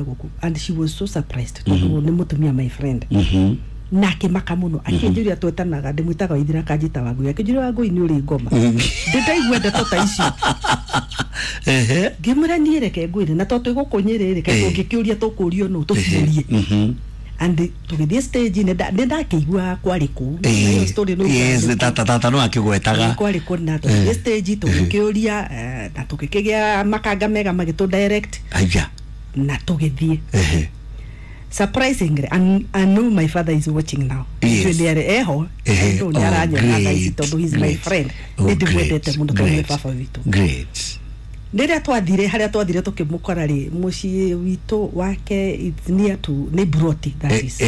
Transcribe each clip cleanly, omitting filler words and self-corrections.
Gũkũ, and she was so surprised tondũ nĩ mũtumia my friend na akĩmaka mũno, akĩnjũria, twetanaga, ndĩmwĩtaga Waithira, akanjĩta Wangũi, akĩnjũria, "Wangũi, nĩ ũrĩ ngoma?" Ndĩndaigua ndeto ta icio. Ngĩmwĩra, "Niĩ reke ngwĩre, na tondũ twĩ gũkũ Nyĩrĩ rĩ, kaĩ tũngĩkĩũria tũkũrio nũ tũciũrie?" And tũgĩthiĩ stage, nĩ ndakĩigua kwarĩ kũu. Na ĩyo story nĩ Yes, ũkũrĩ tata no akĩgwetaga. Kwarĩ kũna tũgĩthiĩ stage, tũgĩkĩũria, na tũgĩkĩgĩa makanga mega magĩtũ direct Aya. na tũgĩthiĩ. Surprisingly, and I know my father is watching now. Nĩ arĩ eho. I know nĩ aranyona thaa ici tondũ he's my friend. Nĩ ndĩmwendete mũno tondũ nĩ baba witũ. Rĩrĩa twathire, harĩa twathire tũkĩmũkora rĩ, mũciĩ witũ wake, it's near to, nĩ broti that is.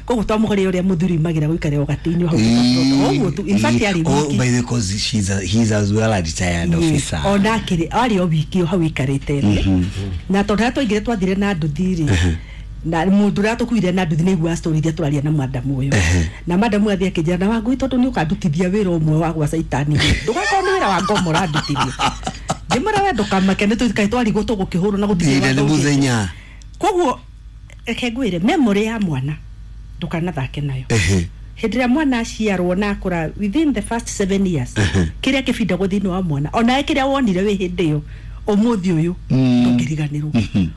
Koguo twamũkorire ũrĩa mũthuri magĩra gũikara o gatĩ-inĩ hau tũkabrota ũguo tu. In fact, arĩ Oh, wiki. by the cause he's as well a retired officer. Ona akĩrĩ arĩ o wiki o hau ikarĩte thĩ, na tondũ harĩa twaingire twathire na nduthi rĩ, na mũndũ ũrĩa tũkuire na nduthi nĩ aiguaga story iria tũraria na madamu ũyũ, na madamu athiĩ akĩnjĩra, "Na Wangũi, tondũ nĩ ũkandutithia wĩra ũmwe wa gwa caitani, ndũgakorwo nĩ wĩra wa ngomo ũrandutithia." Ngĩmwĩra, "We ndũkamake, nĩ tũikae twarigwo tũgũkĩhũrwo na gũtirĩ Ire nĩ watho ũngĩ." mũthenya. Koguo reke ngwĩre, memory ya mwana ndũkanathake nayo. Hĩndĩ ĩrĩa mwana aciarwo na akũra, within the first 7 years, kĩrĩa kĩbindagwo thĩinĩ wa mwana, onawe kĩrĩa wonire wĩ hĩndĩ ĩyo, ũmũthĩ ũyũ ndũngĩriganĩrwo.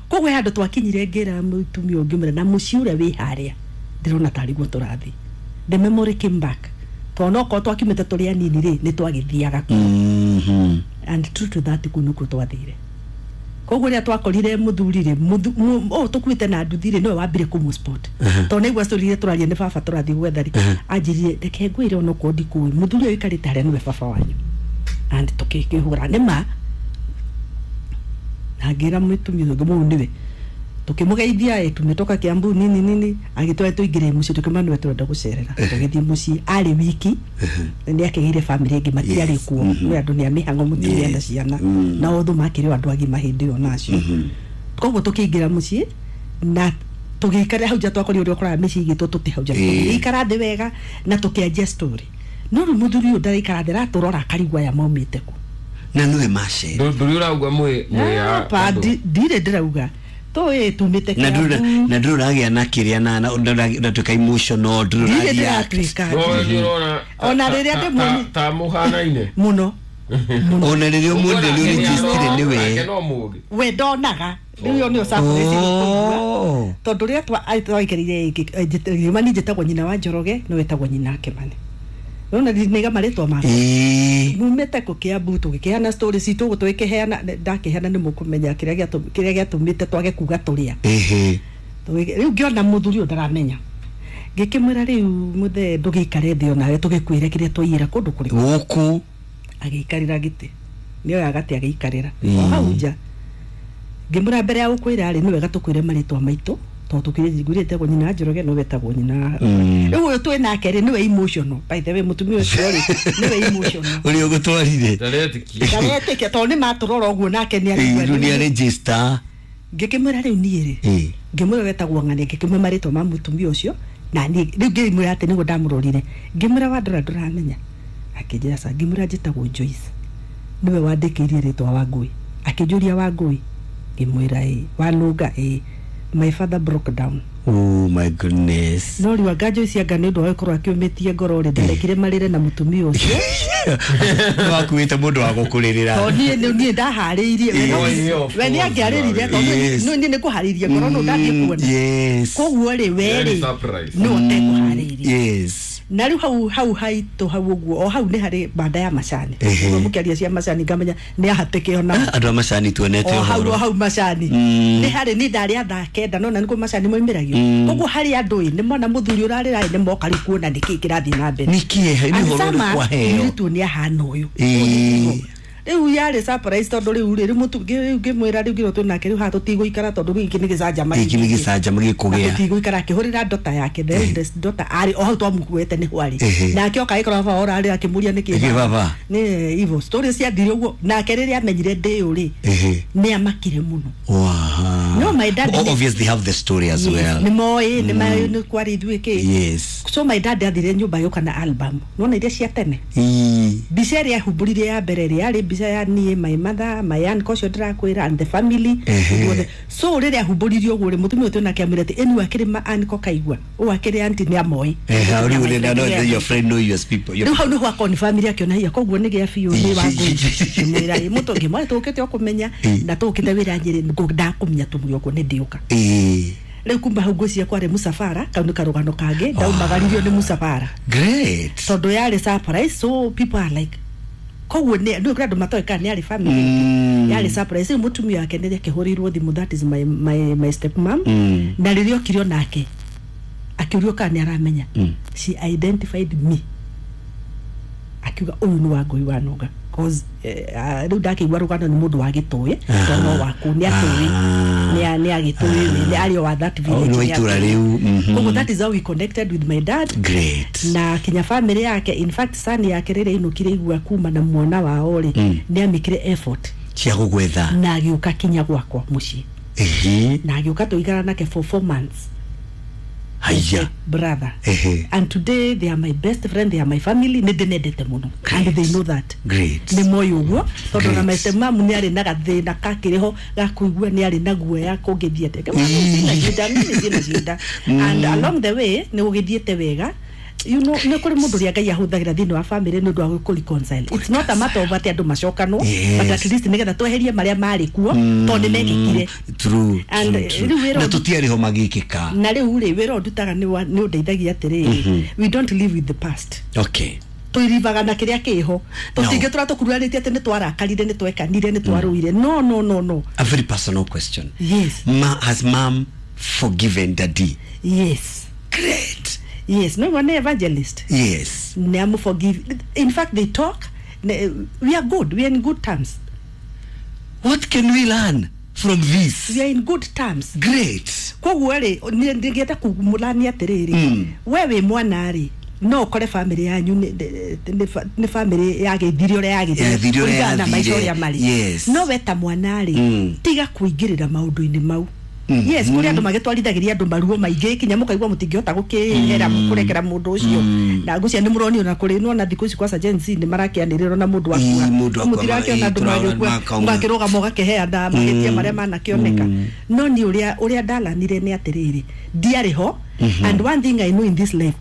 Koguo he handũ twakinyire, ngĩra mũtumia ũngĩ mwĩra, "Na mũciĩ ũrĩa wĩ harĩa ndĩrona tarĩguo tũrathiĩ." The memory came back, tondũ nokorwo twakiumĩte tũrĩ anini rĩ, nĩ twagĩthiaga kuo. And true to that, kũu nĩkuo twathire. Koguo rĩrĩa twakorire mũthuri rĩ, ũyũ tũkuĩte na nduthi rĩ, nĩwe wambire kũmũ spot, tondũ nĩaigua story iria tũraria, nĩ baba tũrathiĩ gwetha rĩ, anjĩrire, "Reke ngwĩre, onokorwo ndikũĩ, mũthuri ũyũ ũikarĩte harĩa nĩwe baba wanyu." And tũkĩhũra nĩ ma, na ngĩra mũtumia ũyũ ngĩmũũ nĩwe, tukĩmũgeithia, "Tumetoka Kiambu," nini nini, agĩtwara tũingĩre mũciĩ, tũkĩmwĩra nĩwe tũrenda gũcerera. Tũgĩthiĩ mũciĩ, arĩ wiki, nĩ akĩgĩire family ĩngĩ, matiarĩ kuo, nĩ andũ nĩ a mĩhang'o, mũtumia na ciana, na othe makĩrĩ o andũ agima hĩndĩ ĩyo nacio. Koguo tũkĩingĩra mũciĩ na tũgĩikara hau nja, twakorire ũrĩa ũkoraga mĩciĩ igĩtwo tũtĩ hau nja. Tũgĩikara thĩ wega na tũkĩanjia story, no rĩu mũthuri ũyũ ndaraikara thĩ, aratũrora akarigwo aya maumĩte kũ. Na nĩwe macera. Ndũrĩ ũrauga mwĩ Apa, ndirĩ ndĩrauga tũĩ tumĩte Na ndũrĩ Kiambu. na ndũrĩ ũragĩa na kĩrĩa na ũratuĩka emotional, ndũrĩ Ndirĩ ũra react. ndĩratuĩka. No nĩ ũrona Ona rĩrĩa ndĩmuoni- ta mũhanaine. Mũno mũno. Ona rĩrĩa ũmwendire nĩ ũregistire nĩwe. No mũgĩ. We ndonaga rĩu ĩyo nĩyo surprise ĩgũkũigua. Tondũ rĩrĩa twaikarire, Kimani, njĩtagwo nyina wa Njoroge, no wetagwo nyina wa Kimani, nona nĩga marĩtwa makwa. Mumĩte kũ? Kiambu. Tũgĩkĩheana story citũ ũguo, tũgĩkĩheana, ndakĩheana nĩ mũkũmenya kĩrĩa gĩatũmĩte twage kuga tũrĩa. Rĩu ngĩona mũthuri ũyũ ndaramenya, ngĩkĩmwĩra, "Rĩu mũthee, ndũgĩikare thĩ onawe tũgĩkwĩre kĩrĩa twaiyĩra kũndũ kũrĩkũ." Gũkũ. Agĩikarĩra gĩtĩ, nĩoya gatĩ agĩikarĩra o hau nja. Ngĩmwĩra, "Mbere ya gũkwĩra rĩ, nĩ wega tũkwĩre marĩtwa maitũ, tondũ tũkĩrĩ ngwĩrĩte etagwo nyina wa Njoroge, no wetagwo nyina rĩu ũyũ twĩ nake rĩ, nĩwe emotional. By the way, mũtumia ũcio rĩ, nĩwe emotional." Ũrĩa ũgũtwarire. Ndaretĩkia. Ndaretĩkia tondũ nĩ matũrora ũguo nake nĩ Rĩu nĩ arigua. aregister. Ngĩkĩmwĩra, "Rĩu niĩ rĩ," ngĩmwĩra wetagwo ng'ania, ngĩkĩmwĩra marĩtwa ma mũtumia ũcio, na niĩ rĩu ngĩmwĩra atĩ nĩguo ndamũrorire, ngĩmwĩra, "Wandora ndũramenya?" Akĩnjĩra ca. Ngĩmwĩra, "Njĩtagwo Joyce, nĩwe wandĩkĩirie rĩtwa Wangũi." Akĩnjũria, "Wangũi?" Ngĩmwĩra, "Ĩ." "Wanũnga?" "Ĩ." My father broke down. Oh my goodness. No rĩu anga Joyce, anga nĩ ũndũ wa gũkorwo akĩũmĩtie ngoro rĩ, ndarekire marĩre na mũtumia ũcio. Wakuĩte mũndũ wa gũkũrĩrĩra. Tondũ niĩ ndaharĩirie we we nĩ angĩarĩrire, tondũ niĩ nĩ kũharĩirie ngoro no ndathiĩ kuona. Koguo rĩ, we Yarĩ rĩ surprise. no ũtekũharĩirie. Na rĩu hau haitũ hau ũguo, o hau nĩ harĩ banda ya macani. Ũguo mũkĩaria cia macani, ngamenya nĩ ahatĩke ona. Andũ a macani tuonete O hau o ũhoro. hau macani nĩ harĩ, niĩ ndarĩ thaa 9, nona nĩkuo macani moimĩragio. Koguo harĩ andũ ĩ nĩ mona mũthuri ũrarĩra ĩ, nĩ moka rĩu kuona nĩkĩ kĩrathiĩ na mbere. Nĩ kĩeha nĩ And ũhoro sama, ũrĩkũ aheo. mũirĩtu ũyũ nĩ ahana ũyũ. Ũyũ nĩ tiguo. Rĩu yarĩ surprise, tondũ rĩu rĩ, rĩu rĩu ngĩmwĩra, rĩu ngĩrwo twĩ nake, rĩu haha tũtigũikara tondũ rĩu gĩkĩ nĩ gĩcanjama. Gĩkĩ nĩ gĩcanjama gĩkũgĩa. Tũtigũikara. Akĩhũrĩra ndota yake, the eldest daughter, arĩ o hau twamukuĩte nĩho arĩ. Nake oka agĩkora baba orarĩ, akĩmũria, "Nĩkĩ?" Nĩkĩ baba? Nĩ ivo story ciathire ũguo. Nake rĩrĩa amenyire ndĩũ rĩ, nĩ amakire mũno. Wow. No, my dad Obviously have the story as well. Nĩ moĩ, nĩ moĩ nĩ kwarĩ ithuĩ kĩ. So my dad athire nyũmba agĩũka na album, nona iria cia tene. Mbica ĩrĩa ahumbũrire ya mbere rĩ, yarĩ mbica ya niĩ, my mother, my uncle ũcio ndĩrakwĩra, and the family guothe. So rĩrĩa ahumbũririe ũguo rĩ, mũtumia ũyũ nake amwĩra atĩ ĩnu akĩrĩ ma uncle kaigua ũũ akĩrĩ auntie nĩ amoĩ. Rĩu rĩ, no, your friend know your people. Rĩu hau nĩho akoni family akĩona hiya koguo nĩ gĩa biũ nĩ Wangũi. Ngĩmwĩra ĩ mũtũ ngĩmwĩra tũkĩte o kũmenya na tũkĩte wĩra Nyĩrĩ, ndakũmenya tũmũrĩ ũguo nĩ ndĩũka. Rĩu kuma hau ngwĩciria kwarĩ mũcabara, kau nĩ karũgano kangĩ ndaumagaririo nĩ mũcabara. Great. Tondũ yarĩ surprise, so people are like, koguo nĩ kũrĩ andũ matoĩ kana nĩ yarĩ family. Yarĩ surprise. Rĩu mũtumia wake nĩ akĩhũrĩirwo thimũ, that is my step mom. Na rĩrĩa okire onake akĩũrio kana nĩ aramenya, she identified me, akiuga ũyũ nĩ Wangũi wa Nũnga, cause rĩu ndakĩigua rũgano nĩ mũndũ wa gĩtũĩ, tondũ no waku nĩ atũĩ, nĩ agĩtũĩ, nĩ arĩ o wa that village. Nĩ wa nĩ itũra atũĩ. Rĩu. Koguo that is how we connected with my dad. Great. Na kinya family yake, in fact son yake rĩrĩa inũkire igua kuma na mwana wao rĩ, nĩ amĩkire effort cia gũgwetha na agĩũka kinya gwakwa mũciĩ. Na agĩũka tũikara nake for 4 months. Haya. Brother. And today they are my best friend, they are my family. Nĩ ndĩmendete mũno and they know that. Great. Nĩ moĩ ũguo tondũ na Great. my stepmom nĩ arĩ na gathĩna kakĩrĩ ho ga kũigua nĩ arĩ na guoya kũngĩthiĩ atĩa. Ciĩna cinda, mimi ciĩna cinda, and along the way nĩ gũgĩthiĩte wega. Nĩ kũrĩ mũndũ ũrĩa Ngai ahũthagĩra thĩinĩ wa family nĩ ũndũ wa gũkũ reconcile. It's not a matter of atĩ andũ macokanwo, but at least nĩgetha tweherie marĩa marĩ kuo tondũ nĩ mekĩkire. True. And, True, true. rĩu wĩra Na tũtiarĩ ho magĩkĩka. Na rĩu rĩ, wĩra ũyũ ndutaga nĩ ũndeithagia atĩrĩrĩ, we don't live with the past. Twĩrivaga na kĩrĩa kĩho, tũtingĩtũra tũkururarĩtie atĩ nĩ twarakarire, nĩ twekanire, nĩ twarũire. No, no, no, no. A very personal question. Yes. Has mom forgiven daddy? Yes. Great. Yes, no nĩ evangelist. Nĩ amu forgive. In fact, they talk. We are good, we are in good terms. What can we learn from this? We are in good terms. Great. Koguo rĩ, ndingĩenda kumũrania atĩrĩrĩ, we wĩ mwana rĩ, no ũkore family yanyu nĩ family yagĩthire ũrĩa Yathire ũrĩa kũringana na maica yathire. ũrĩa marĩ. No we ta mwana rĩ, tiga kũingĩrĩra maũndũ-inĩ mau. Yes, kũrĩ andũ magĩtwarithagĩria andũ maruo maingĩ kinya mũkaigua mũtingĩhota gũkĩhera kũrekera mũndũ ũcio, na ngũcia nĩ mũronio na kũrĩ nona thikũ ici kwaca Gen Z nĩ marakĩanĩrĩrwo na mũndũ akua. Ii, mũndũ akua, Mũtirakĩona andũ tũraona magĩkua, makauma. ũgakĩrũgama ũgakĩheana mahĩtia marĩa manakĩoneka. No niĩ ũrĩa ndalanire nĩ atĩrĩrĩ, ndiarĩ ho. And one thing I know in this life,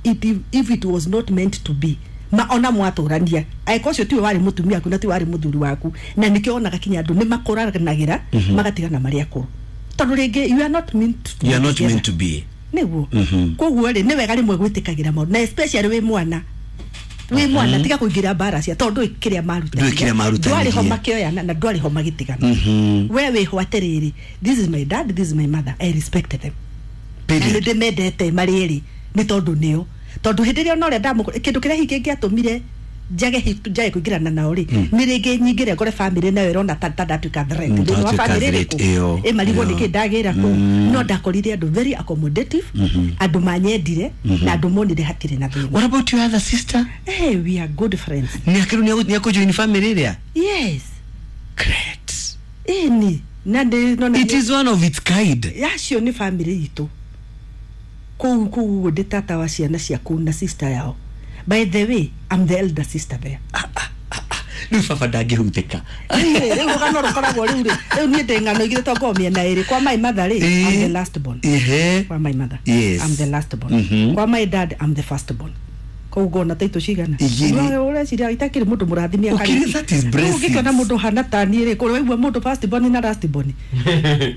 if it was not meant to be, ma ona mwatũrania angĩkorwo ũcio tiwe warĩ mũtumia waku na tiwe warĩ mũthuri waku, na nĩkĩo onaga kinya andũ nĩ makũranagĩra magatigana marĩ akũrũ, tondũ rĩngĩ you are not meant to You are be not together. meant to be. Nĩguo. Koguo rĩ, nĩ wega rĩmwe gwĩtĩkagĩra maũndũ, na especially wĩ mwana, wĩ mwana tiga kũingĩra mbara cia tondũ ndũĩ kĩrĩa Ndũĩ kĩrĩa marutanĩtie. Ndwarĩ ho makĩoyana na ndwarĩ ho magĩtigana. We wĩho atĩrĩrĩ, this is my dad, this is my mother, I respect them na nĩ Period. ndĩmendete marĩ erĩ, nĩ tondũ nĩo, tondũ hĩndĩ ĩrĩa ona ũrĩa ndamũkora, kĩndũ kĩrĩa hihi kĩngĩatũmire njage kũingĩrana nao rĩ, nĩ rĩngĩ nyingĩre ngore family nayo ĩrona ta ndatuĩka threat thĩinĩ wa Ndatuĩka family threat, ĩrĩkũ ĩyo, ĩmarigwo ĩyo. nĩkĩ ndagĩra kũu. No ndakorire andũ very accommodative, andũ manyendire na andũ monire hatirĩ na thĩna. What about your other sister? Hey, we are good friends. Nĩ akĩrũ nĩ akũjoin family ĩrĩa? Yes. Great. Ĩni na ndĩ no na It is one of its kind. Yacio nĩ family itũ kũu ũguo, ndĩ tata wa ciana cia kũu na sister yao. By the way, I'm the elder sister there. Rĩu baba ndangĩhutĩka. Rĩu rũgano rũkoragwo rĩu rĩ, rĩu niĩ ndĩ ng'ano igĩrĩ tongoo mĩena ĩrĩ. Kwa my mother rĩ, I'm the last born. Kwa my mother, I'm the last born. Kwa my dad, I'm the first born. Koguo ngona taitũ cigana. Igĩrĩ. Ũreciria itakĩrĩ mũndũ mũrathime. Ũkĩrĩ, that is blessings. Ũngĩkĩona mũndũ hana ta niĩ rĩ, kũrĩ waigua mũndũ first born na last born,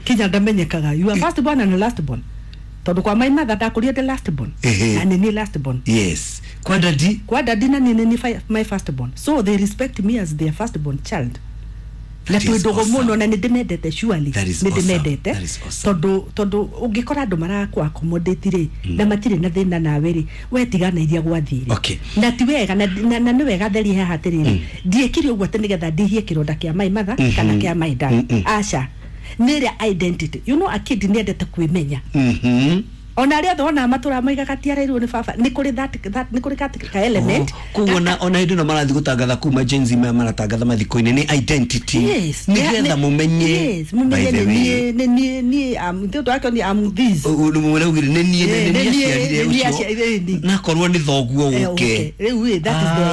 kinya ndamenyekaga you are first born and last born, tondũ kwa my mother ndakũrire the last born na nĩ niĩ last born. Yes, kwa daddy? Kwa daddy na nĩ niĩ my first born, so they respect me as their first born child na That twĩ is ndũgũ awesome. mũno na nĩ ndĩmendete surely. That is Nĩ awesome. ndĩmendete That is awesome. tondũ ũngĩkora andũ marakũ accommodate rĩ na matirĩ na thĩna nawe rĩ, we tigana iria gwathire. Na ti wega na nĩ wega therie haha atĩrĩrĩ, ndiĩkire ũguo atĩ nĩgetha ndihie kĩronda kĩa my mother kana kĩa my dad. Aca, nĩ ĩrĩa identity, you know, a kid nĩ endete kwĩmenya. Ona arĩa othe wonaga matũraga moigaga ti arerirwo nĩ baba, nĩ kũrĩ that nĩ kũrĩ ka element. Koguo ona hĩndĩ ĩno marathiĩ gũtangatha kuma Gen Z maya maratangatha mathiko-inĩ nĩ identity. Yes. Nĩgetha mũmenye. Yes, mũmenye By the nĩ way. niĩ, nĩ niĩ, niĩ am thĩ ũndũ wake nĩ am this. Mũraugire nĩ niĩ, Eh, nĩ nĩ niĩ niĩ, aciarire nĩ niĩ ũcio. aciarire, nĩ. Nakorwo nĩ thoguo Eh, ũke. okay. Rĩu ĩ, that is the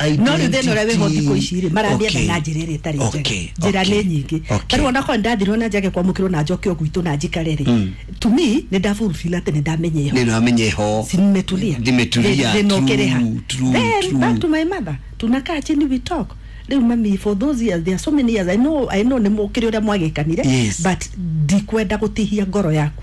identity. No rĩu thĩna ũrĩa wĩho thikũ ici rĩ, maramĩetha na njĩra ĩrĩa ĩtarĩ njega. Njĩra nĩ nyingĩ. Ta rĩu onakorwo nĩndathirwo na njage kwamũkĩrwo na njoke o gwitũ na njikare rĩ, to me nĩ ndafulfill atĩ nĩ ndamenya ĩho. Nĩ ndamenya ĩho. Si nimetulia. Nimetulia. Thĩna ũkĩrĩha. True, true, Then true. back to my mother, tunakaa chini, we talk. Rĩu mami, for those years, there are so many years, I know nĩ mũkĩrĩ ũrĩa mwagĩkanire. Yes. But ndikwenda gũtihia ngoro yaku.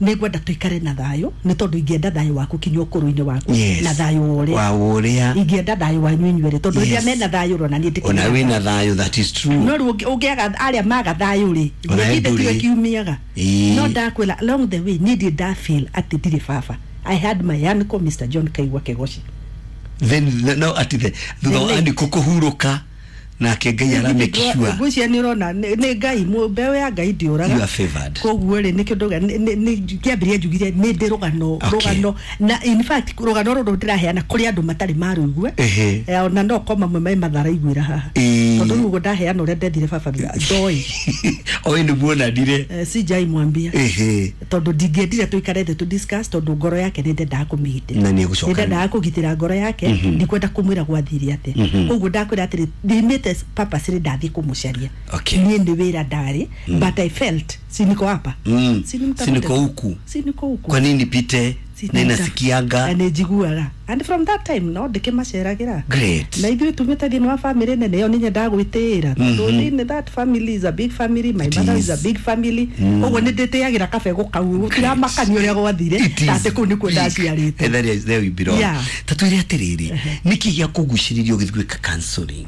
Nĩ ngwenda tũikare na thayũ, nĩ tondũ ingĩenda thayũ waku kinya ũkũrũ-inĩ waku. Yes. Na thayũ wa ũrĩa Wa ũrĩa. ingĩenda thayũ wanyu inyuerĩ, tondũ Yes. rĩrĩa mena thayũ rona niĩ ndĩkĩrĩ Ona na wĩna thayũ. thayũ, that is true. No rĩu ũngĩaga arĩa maga thayũ rĩ, Ona githĩ ndũrĩ. tiwe kiumiaga? Ĩĩ. No ndakwĩra, along the way niĩ ndirĩ ndafeel atĩ ndirĩ baba. I had my uncle, Mr. John Kaigwa Kegoshi. Then no ati the thutha wa The late. andiko kũhurũka nake Ngai ara make sure Ngwĩciria nĩ ũrona nĩ Ngai, mbeũ ya Ngai ndĩũraga. You are favored. Koguo rĩ, nĩkĩo ndauga kĩambĩrĩria njugire nĩ ndĩ rũgano. Okay. Rũgano, na in fact rũgano rũrũ ndĩraheana kũrĩ andũ matarĩ marũigue. Ehe. Eh, ona no ko mamwe me matharaiguĩra haha. Ĩĩ. Tondũ rĩu ũguo ndaheana ũrĩa ndethire baba ndoĩ. Oĩ nĩ muonanire. Eh, sijai mwambia. Ehe. Tondũ ndingĩendire tũikare thĩ tũ discuss, tondũ ngoro yake nĩ ndendaga kũmĩgitĩra. Na nĩ egũcoka. Nĩ ndendaga kũgitĩra ngoro yake, ndikwenda kũmwĩra gwathire atĩa. Koguo ndakwĩra atĩrĩ, ndimĩte purposely ndathiĩ kũmũcaria. Okay. Niĩ nĩ wĩra ndarĩ, but I felt si niko hapa. Si nimtafute. Si niko huku. Si niko huku. Kwa nini pite Si na inasikianga. Na nĩ njiguaga, and from that time no ndĩkĩmaceragĩra. Great. Na ithuĩ tumĩte thĩinĩ wa family nene ĩyo, nĩ nyendaga gwĩtĩĩra, tondũ thĩinĩ that family is a big family. My It mother is is. a big family. Ũguo nĩ ndĩtĩagĩra kabegũ kau, gũtiramakania ũrĩa gwathire, It is ta atĩ kũu nĩkuo big. ndaciarĩtwo. Eh, there is- there we belong. Yeah. Ta twĩre atĩrĩrĩ, nĩkĩ gĩa kũgucĩrĩria ũgĩthiĩ gwĩka counseling?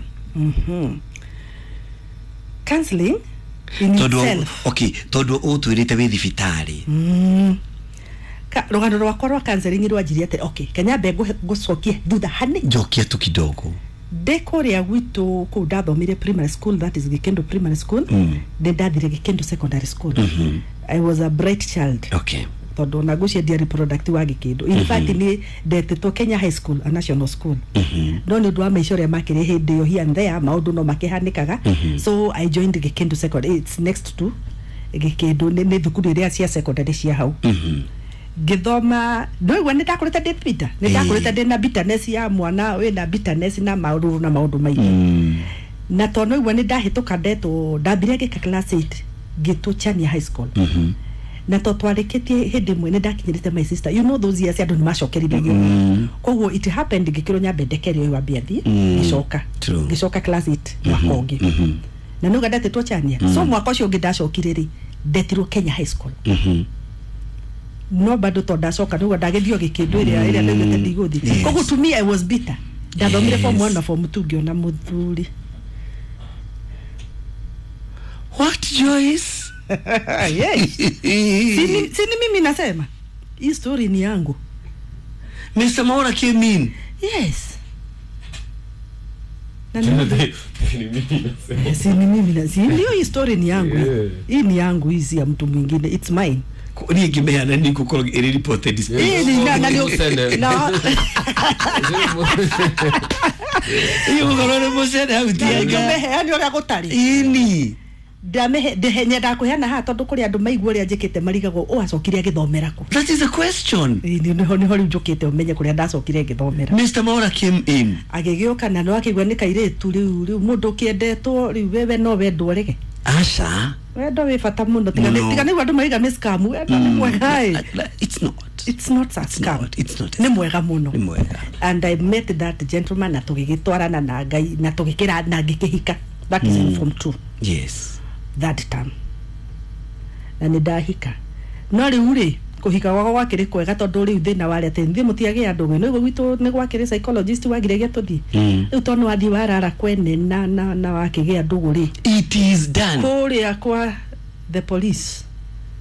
Counseling in Tondũ itself. okay, tondũ ũtwĩrĩte wĩ thibitarĩ. Rũgano rwakwa rwa counseling rwanjirie atĩ, okay, kanyambe ngũcokie thutha hani. Njokia tu kidogo. Ndĩ kũrĩa gwitũ kũu ndathomire primary school, that is Gĩkĩndũ Primary School. Nĩ ndathire Gĩkĩndũ Secondary School. I was a bright child. Okay. Tondũ ona ngwĩciria ndiarĩ product wa Gĩkĩndũ. In fact nĩ ndetĩtwo Kenya High School, a national school, no nĩ ũndũ wa maica ũrĩa makĩrĩ hĩndĩ ĩyo, here and there maũndũ no makĩhanĩkaga, so I joined Gĩkĩndũ Secondary. It's next to Gĩkĩndũ, nĩ thukuru ĩrĩa cia secondary cia hau. Ngĩthoma, ndũigua nĩ ndakũrĩte ndĩ bitter, nĩ ndakũrĩte ndĩ na bitterness ya mwana wĩna bitterness na maũrũrũ na maũndũ maingĩ. Na tondũ igua nĩ ndahĩtũka, ndetwo, ndambire ngĩka class 8, ngĩtwo Chania High School. Na to twarĩkĩtie hĩndĩ ĩmwe nĩ ndakinyĩrĩte my sister, you know those years andũ nĩ macokerithagio. Koguo it happened ngĩkĩrwo nyambe ndekere ũyũ wambe athiĩ. Ngĩcoka. True. Ngĩcoka class 8 mwaka ũngĩ, na nĩuga ndetĩtwo Chania. So mwaka ũcio ũngĩ ndacokire rĩ, ndetirwo Kenya High School. No bado to ndacoka nĩguo ndagĩthio Gĩkĩndũ ĩrĩa ndaugĩte ndigũthiĩ. Yes. Koguo to me I was bitter. Ndathomire form Yes. 1 na form 2, ngĩona mũthuri. What, Joyce? Yes. Sini mimi nasema hii story ni yangu. Mr. Maura came in. Yes. Na si ni mimi na si ndio hii story ni yangu. Yeah. Hii ni yangu, hii si ya mtu mwingine, it's mine. Niĩ ngĩmeana nĩ ngũkorwo ĩrĩ reported. Hii ni na Send. na Ĩĩ, gũkorwo nĩ mũcene hau tianga. ngĩmeheani ũrĩa gũtarĩ. Ĩni. Ndamehe ndehe nyendaga kũheana haha tondũ kũrĩ andũ maigua ũrĩa njĩkĩte marigagwo ũacokire agĩthomera kũ. That is a question. Ĩĩ, nĩho rĩu njũkĩte ũmenye kũrĩa ndacokire ngĩthomera. Mr. Maura came in. Agĩgĩũka na no akĩigua nĩ kairĩtu rĩu mũndũ ũkĩendetwo rĩu wewe no wendwo rĩge. Aca. Wendo wĩ bata mũno, tiga Mũno. tiga nĩguo andũ maiga nĩ scam, wendo nĩ mwega ĩ. It's not. It's not a It's scam. not. It's not a Nĩ mwega mũno. Nĩ mwega. And I met that gentleman na tũgĩgĩtwarana na Ngai na tũgĩkĩra na ngĩkĩhika. That is in form 2. Yes. That term na nĩ ndahika. No rĩu rĩ, kũhika gwakwa gwakĩrĩ kwega, tondũ rĩu thĩna warĩ atĩ nithiĩ mũtiagĩa andũ nĩguo gwitũ nĩ gwakĩrĩ psychologist wagire gĩa tũthiĩ. Rĩu tondũ wathiĩ warara kwene na wakĩgĩa ndũgũ rĩ, It is done. kũrĩa kwa the police.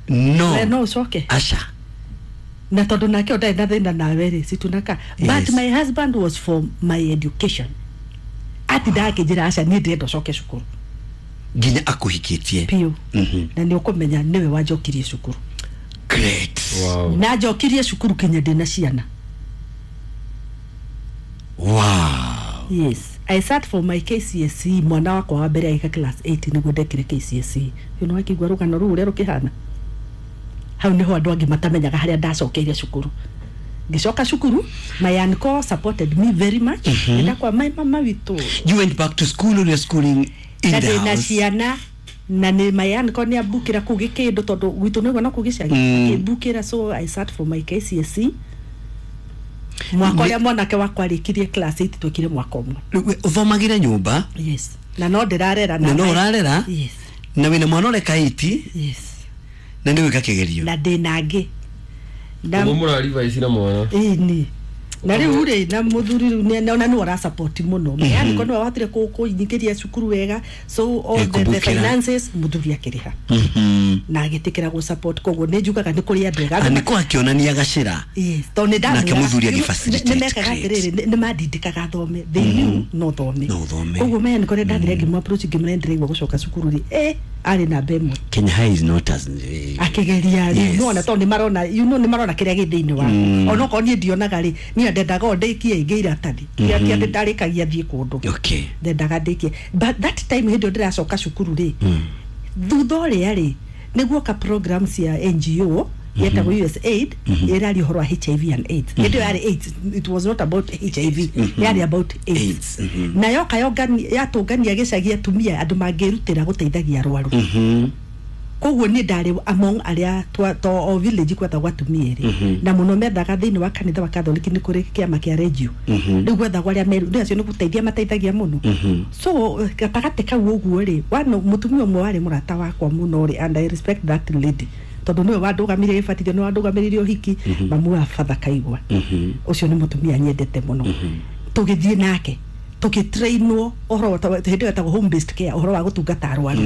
No. We no ũcoke. Aca. Na tondũ nake ndarĩ na thĩna nawe rĩ, situnaka. Yes. But my husband was for my education, atindaga akĩnjĩra aca, niĩ ndĩrenda ũcoke cukuru. Nginya akũhikĩtie. Piũ. Na nĩ ũkũmenya nĩwe wanjokirie cukuru. Great. Wow. Na njokirie cukuru kinya ndĩna ciana. Wow. Yes, I sat for my KCSE. Mwana wakwa wa mbere agĩka class 8 nĩguo ndekire KCSE. You know, akĩigua rũgano rũu ũrĩa rũkĩhana. Hau nĩho andũ angĩ matamenyaga harĩa ndacokeire cukuru. Ngĩcoka cukuru, my uncle supported me very much. Ndakwa my mama witũ. You went back to school or you're schooling in Na the ndĩna house? ciana na nĩ my uncle nĩ ambukĩra kũu gĩkĩndũ tondũ gwitũ nĩguo no kũu gĩcagi. Akĩmbukĩra, so I sat for my KCSE. Mwaka ũrĩa mwanake wakwa arĩkirie class 8 twekire mwaka ũmwe. Ũthomagĩra nyũmba? Yes, na no ndĩrarera. Na no ũrarera? Yes. Na wĩna mwana ũreka 8? Yes. Na nĩ wĩka kĩgerio? Na ndĩna angĩ na Ũguo mũrarivaici na mwana. Ĩni, na rĩu rĩ, na mũthuri rĩu ona nĩwe ũrasupport mũno. Yani ko nĩwe wahotire kũnyingĩria cukuru wega, so all the Kũbukĩra. finances mũthuri akĩrĩha na agĩtĩkĩra gũ support. Koguo nĩ njugaga nĩ kũrĩ andũ ega. Na nĩkũ akĩonania gacĩra. Yes, tondũ nĩ ndamwĩraga- Nake mũthuri agĩ-facilitate. nĩ mekaga Great. atĩrĩrĩ, nĩ mandindĩkaga thome. They knew no thome. No ũthome. Koguo maya nĩ kũrĩa ndathire ngĩmũ approach, ngĩmũra ndĩraigua gũcoka cukuru rĩ, arĩ namba ĩmwe. Kenya High is not as Akĩgeria rĩ. Yes. Nona tondũ nĩmarona, you know, nĩmarona kĩrĩa gĩ thĩinĩ waku. Onokorwo niĩ ndionaga rĩ, niĩ ndendaga o ndĩkie ingĩ iratathi. Ti atĩ ndarĩkagia thiĩ kũndũ. Ndendaga ndĩkie, but that time hĩndĩ ĩyo ndĩracoka cukuru rĩ, thutha ũrĩa rĩ, nĩguoka program cia NGO yetagwo USAID ĩraria ũhoro wa HIV and AIDS. Hĩndĩ ĩyo yarĩ AIDS, it was not about HIV, yarĩ about AIDS. AIDS. Na yoka yatũngania gĩcagi atumia andũ mangĩrutĩra gũteithagia arwaru. Koguo niĩ ndarĩ among arĩa to o village gwethagwo atumia erĩ, na mũno methaga thĩinĩ wa kanitha wa Katholiki, nĩ kũrĩ kĩama kĩa regio. Rĩu gwethagwo arĩa meru rĩu acio nĩ gũteithia mateithagia mũno. So gatagatĩ kau ũguo rĩ, wano mũtumia ũmwe warĩ mũrata wakwa mũno rĩ, and I respect that lady tondũ nĩwe wandũgamirie gĩbatithio, nĩwe wandũgamĩrĩire ũhiki, mamu wa Father Kaigwa. Ũcio nĩ mũtumia nyendete mũno. Tũgĩthiĩ nake tũgĩtrainwo ũhoro hĩndĩ ĩyo etagwo home based care, ũhoro wa gũtungata arwaru,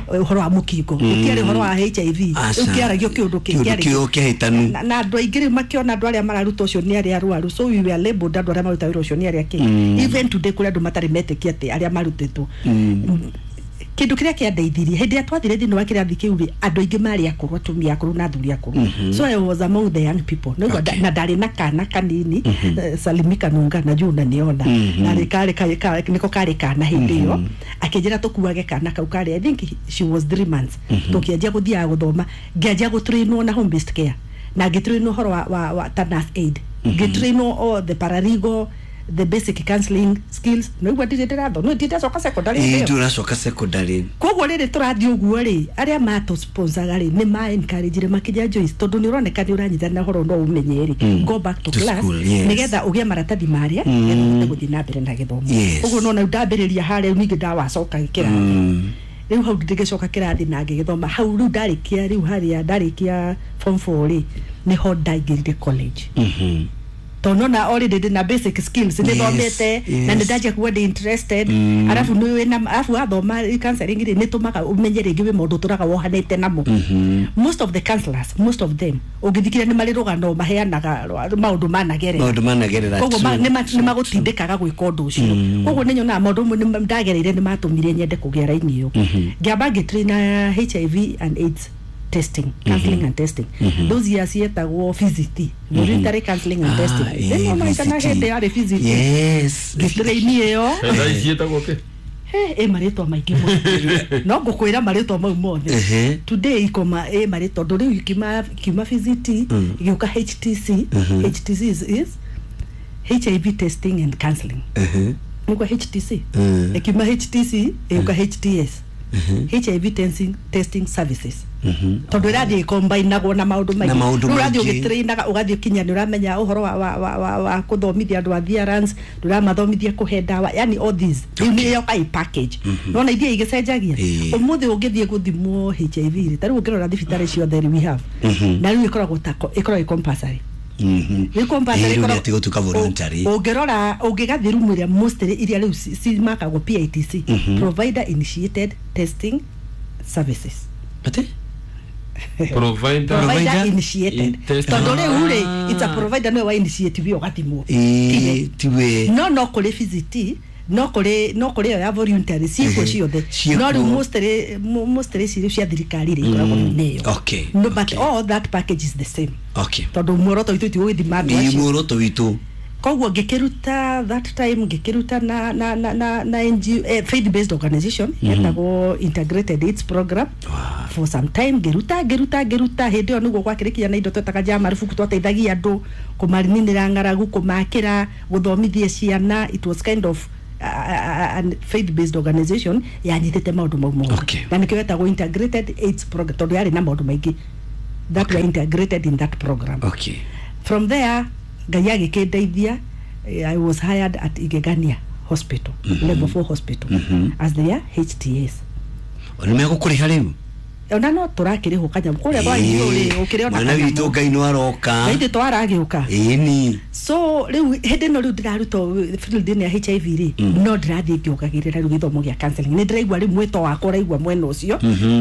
ũhoro wa mũkingo. Gũtiarĩ ũhoro wa HIV. Aca. Rĩu kĩaragio kĩũndũ Kĩũndũ kĩo kĩhĩtanu. Na andũ aingĩ rĩu makĩona andũ arĩa mararuta ũcio nĩ arĩa arwaru, so we were labeled andũ arĩa maruta wĩra ũcio nĩ arĩa kĩ. Even today kũrĩ andũ matarĩ metĩkia atĩ arĩa marutĩtwo. Kĩndũ kĩrĩa kĩandeithirie, hĩndĩ ĩrĩa twathire thĩinĩ wa kĩrathi kĩu rĩ, andũ aingĩ marĩ akũrũ, atumia akũrũ na athuri akũrũ, so I was among the young people. Nĩguo na ndarĩ na kana kanini, Salimi Kanunga, na juu unaniona, na rĩ karĩ nĩko karĩ kana hĩndĩ ĩyo. Akĩnjĩra tũkuage kana kau, karĩ, I think she was 3 months. Tũkĩanjia gũthiaga gũthoma, ngĩanjia gũtrainwo na home based care, na ngĩtrainwo ũhoro wa ta nurse aid, ngĩtrainwo all the paralegal, the basic counseling skills. Nĩguo ndirĩ ndĩrathoma, no ndiracoka secondary hĩndĩ ĩyo. Ndũracoka secondary. Koguo rĩrĩ tũrathiĩ ũguo rĩ, arĩa matũsponsaga rĩ, nĩ ma encourage makĩnjĩra, "Joyce, tondũ nĩ ũroneka nĩ ũranyitana ũhoro no ũmenye rĩ, go back to To class, school, yes. nĩgetha ũgĩe maratathi marĩa, nĩgetha ũhote gũthiĩ na mbere na gĩthomo." Ũguo nona rĩu ndambĩrĩria harĩa, rĩu ningĩ ndawacoka kĩrathi. Rĩu hau ndĩgĩcoka kĩrathi na ngĩgĩthoma hau. Rĩu ndarĩkia, rĩu harĩa ndarĩkia form 4 rĩ, nĩho ndaingĩrire college, tondũ nona already ndĩ na basic skills, nĩ thomete na nĩ ndanjia kuga ndĩ interested. Arabu nĩ wĩna, arabu wathoma counseling rĩ, nĩ tũmaga ũmenye rĩngĩ wĩ maũndũ ũtũraga wohanĩte namo. Most of the counselors, most of them ũngĩthikĩrĩria, nĩ marĩ rũgano maheanaga maũndũ managerera. Maũndũ managerera. Koguo nĩ magũtindĩkaga gwĩka ũndũ ũcio. Koguo nĩ nyonaga maũndũ mamwe ndagereire nĩ matũmire nyende kũgĩa raini ĩyo. Ngĩamba ngĩtraina HIV and AIDS testing, counseling and testing. Those years yetagwo VCT, voluntary counseling and testing. Rĩu no kana VCT. hĩndĩ yarĩ VCT. Ngĩtraini ĩyo. Thaa ici ĩtagwo kĩ? He, ĩ marĩtwa maingĩ mũno, no ngũkwĩra marĩtwa mau mothe. Today ikoma ĩ marĩtwa, tondũ rĩu ikiuma VCT igĩũka HTC. HTC is HIV testing and counseling, nĩguo HTC. Ĩkiuma HTC ĩgĩũka HTS, HIV testing services, tondũ ĩrathiĩ ĩkombainagwo na maũndũ Na maingĩ. maũndũ Rĩu ũrathiĩ maingĩ. ũgĩtrainaga, ũgathiĩ kinya nĩ ũramenya ũhoro wa kũthomithia andũ adherence, nĩ ũramathomithia kũhe ndawa, yani all this rĩu nĩ yoka ĩ package. Nona ithiĩ igĩcenjagia. Ũmũthĩ ũngĩthiĩ gũthimwo HIV rĩ, ta rĩu ũngĩrora thibitarĩ ciothe rĩ, we have, na rĩu ĩkoragwo ta ĩkoragwo ĩ compulsory. Nĩ compulsory. Ĩĩ, rĩu ĩkoragwo- nĩ ati gũtuĩka voluntary. Ũngĩrora, ũngĩgathiĩ rumu ĩrĩa mostly iria rĩu cimakagwo PITC, provider initiated testing services. Ate? Provider Provider initiated. Testing. Tondũ rĩu rĩ, it's a provider nĩwe wa initiative ĩyo ũgathimwo. Tiwe. Ĩĩ, tiwe. No kũrĩ VCT No kũrĩ, no kũrĩ ĩyo ya voluntary, ciĩkuo ciothe. Ciĩkuo. No rĩu mostly ici rĩu cia thirikari rĩ, ikoragwo nĩ ĩyo. No, but all that package is the same, tondũ muoroto witũ ti gũgĩthima andũ Nĩ acio. Muoroto witũ. Koguo ngĩkĩruta that time, ngĩkĩruta na NGO, faith based organization yetagwo Integrated AIDS Program. For some time ngĩruta, ngĩruta, ngĩruta. Hĩndĩ ĩyo nĩguo gwakĩrĩkia na indo twetaga ja marubuku, twateithagia andũ kũmaninĩra ng'aragu, kũmakĩra, gũthomithia ciana. It was kind of faith based organization yanyitĩte maũndũ mau mothe. Na nĩkĩo yetagwo Integrated AIDS Program, tondũ yarĩ na maũndũ maingĩ that were integrated in that program. From there Ngai agĩkĩndeithia, I was hired at Igegania Hospital, level 4 hospital, as their HTS. Nĩ megũkũrĩha rĩu? Ona no tũrakĩrĩhwo kanyamũ kũrĩa kwa ithuĩ rĩ, ũkĩrĩ ona Mwana witũ. Kanyamũ. Ngai no aroka. Na ithuĩ twaragĩũka. Ĩni. So rĩu hĩndĩ ĩno rĩu ndĩraruta field-inĩ ya HIV rĩ, no ndĩrathiĩ ngĩongagĩrĩra rĩu gĩthomo gĩa counseling. Nĩ ndĩraigua rĩu mwĩto wakwa ũraigua mwena ũcio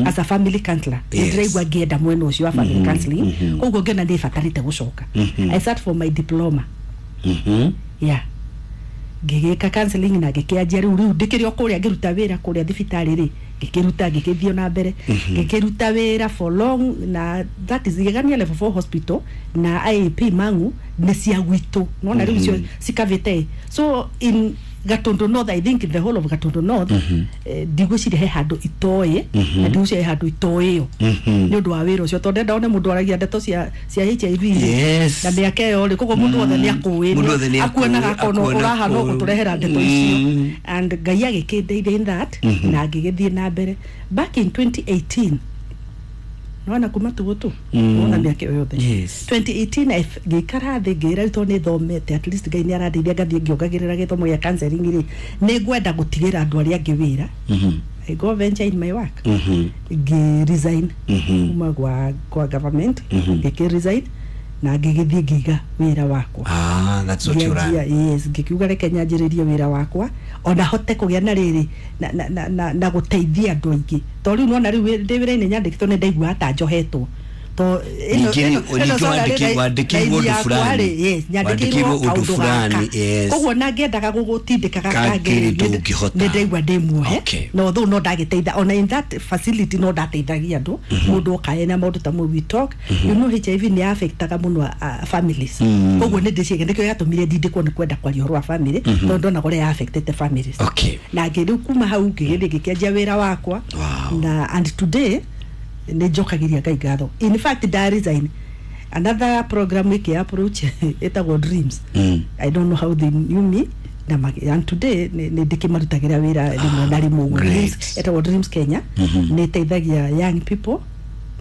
as a family counselor. Nĩ ndĩraigua ngĩenda mwena ũcio wa family counseling, koguo ngĩona nĩ batarĩte gũcoka. I sat for my diploma. Yeah, ngĩgĩka counseling na ngĩkĩanjia rĩu ndĩkĩrĩ o kũrĩa ngĩruta wĩra kũrĩa thibitarĩ rĩ, ngĩkĩruta, ngĩkĩthiĩ na mbere, ngĩkĩruta wĩra for long. Na that is Igegania Level 4 Hospital na IAP Mangu nĩ cia gwitũ, nona rĩu cio cikavĩte. So in Gatundu North, I think in the whole of Gatundu North, ndigwĩciria he handũ itoĩ, na ndigwĩciria he handũ itoĩyo nĩ ũndũ wa wĩra ũcio, tondũ ndenda one mũndũ aragia ndeto cia HIV rĩ, na mĩaka ĩyo rĩ, koguo mũndũ wothe nĩ akũĩ. Mũndũ wothe nĩ akũĩ, Akuonaga akona akuona ũrahana kũũ. Gũtũrehera ndeto icio, and Ngai agĩkĩndeithia in that, na ngĩgĩthiĩ na mbere. Back in 2018, nona kuma tũgũtũ nona mĩaka ĩyo yothe, 2018 ngĩikara thĩ, ngĩra rĩu tondũ nĩ thomete, at least Ngai nĩ arandeithia ngathiĩ ngĩongagĩrĩra gĩthomo gĩa counseling rĩ, nĩ ngwenda gũtigĩra andũ arĩa angĩ wĩra. I go venture in my work. Ngĩ resign kuma kwa government, ngĩkĩ resign na ngĩgĩthiĩ ngĩiga wĩra wakwa. Ah, that's what you Ngĩanjia, run. yes, ngĩkiuga reke nyanjĩrĩrie wĩra wakwa, ona hote kũgĩa na rĩrĩ na gũteithia andũ aingĩ, tondũ rĩu nona rĩu ndĩ wĩra-inĩ nyandĩkĩtwo, nĩ ndaiguaga ta njohetwo to Ningĩ wandĩkĩirwo ũndũ fulani. Yes, nyandĩkĩirwo Wandĩkĩirwo ũndũ kaũndũ fulani, gaka. Koguo na ngĩendaga gũgũtindĩka Kangĩ gakangĩ, ndũngĩhota. nĩ ndaigua ndĩ muohe. No though no ndagĩteitha ona in that facility, no ndateithagia andũ, mũndũ oka ena maũndũ ta mau, we talk. You know, HIV nĩ affectaga mũno families. Koguo nĩ ndĩciĩge nĩkĩo gĩatũmire ndindĩkwo nĩ kwenda kwaria ũhoro wa family, tondũ ndonaga ũrĩa affectete families. Na ngĩ rĩu kuma hau ngĩgĩthiĩ ngĩkĩanjia wĩra wakwa. Na and today nĩ njokagĩria Ngai ngatho. In fact, nda resign, another program ĩkĩ approach ĩtagwo Dreams. I don't know how they knew me, na and today nĩ ndĩkĩmarutagĩra wĩra rĩmwe na rĩmwe ũguo. Dreams, ĩtagwo Dreams Kenya, nĩ ĩteithagia young people,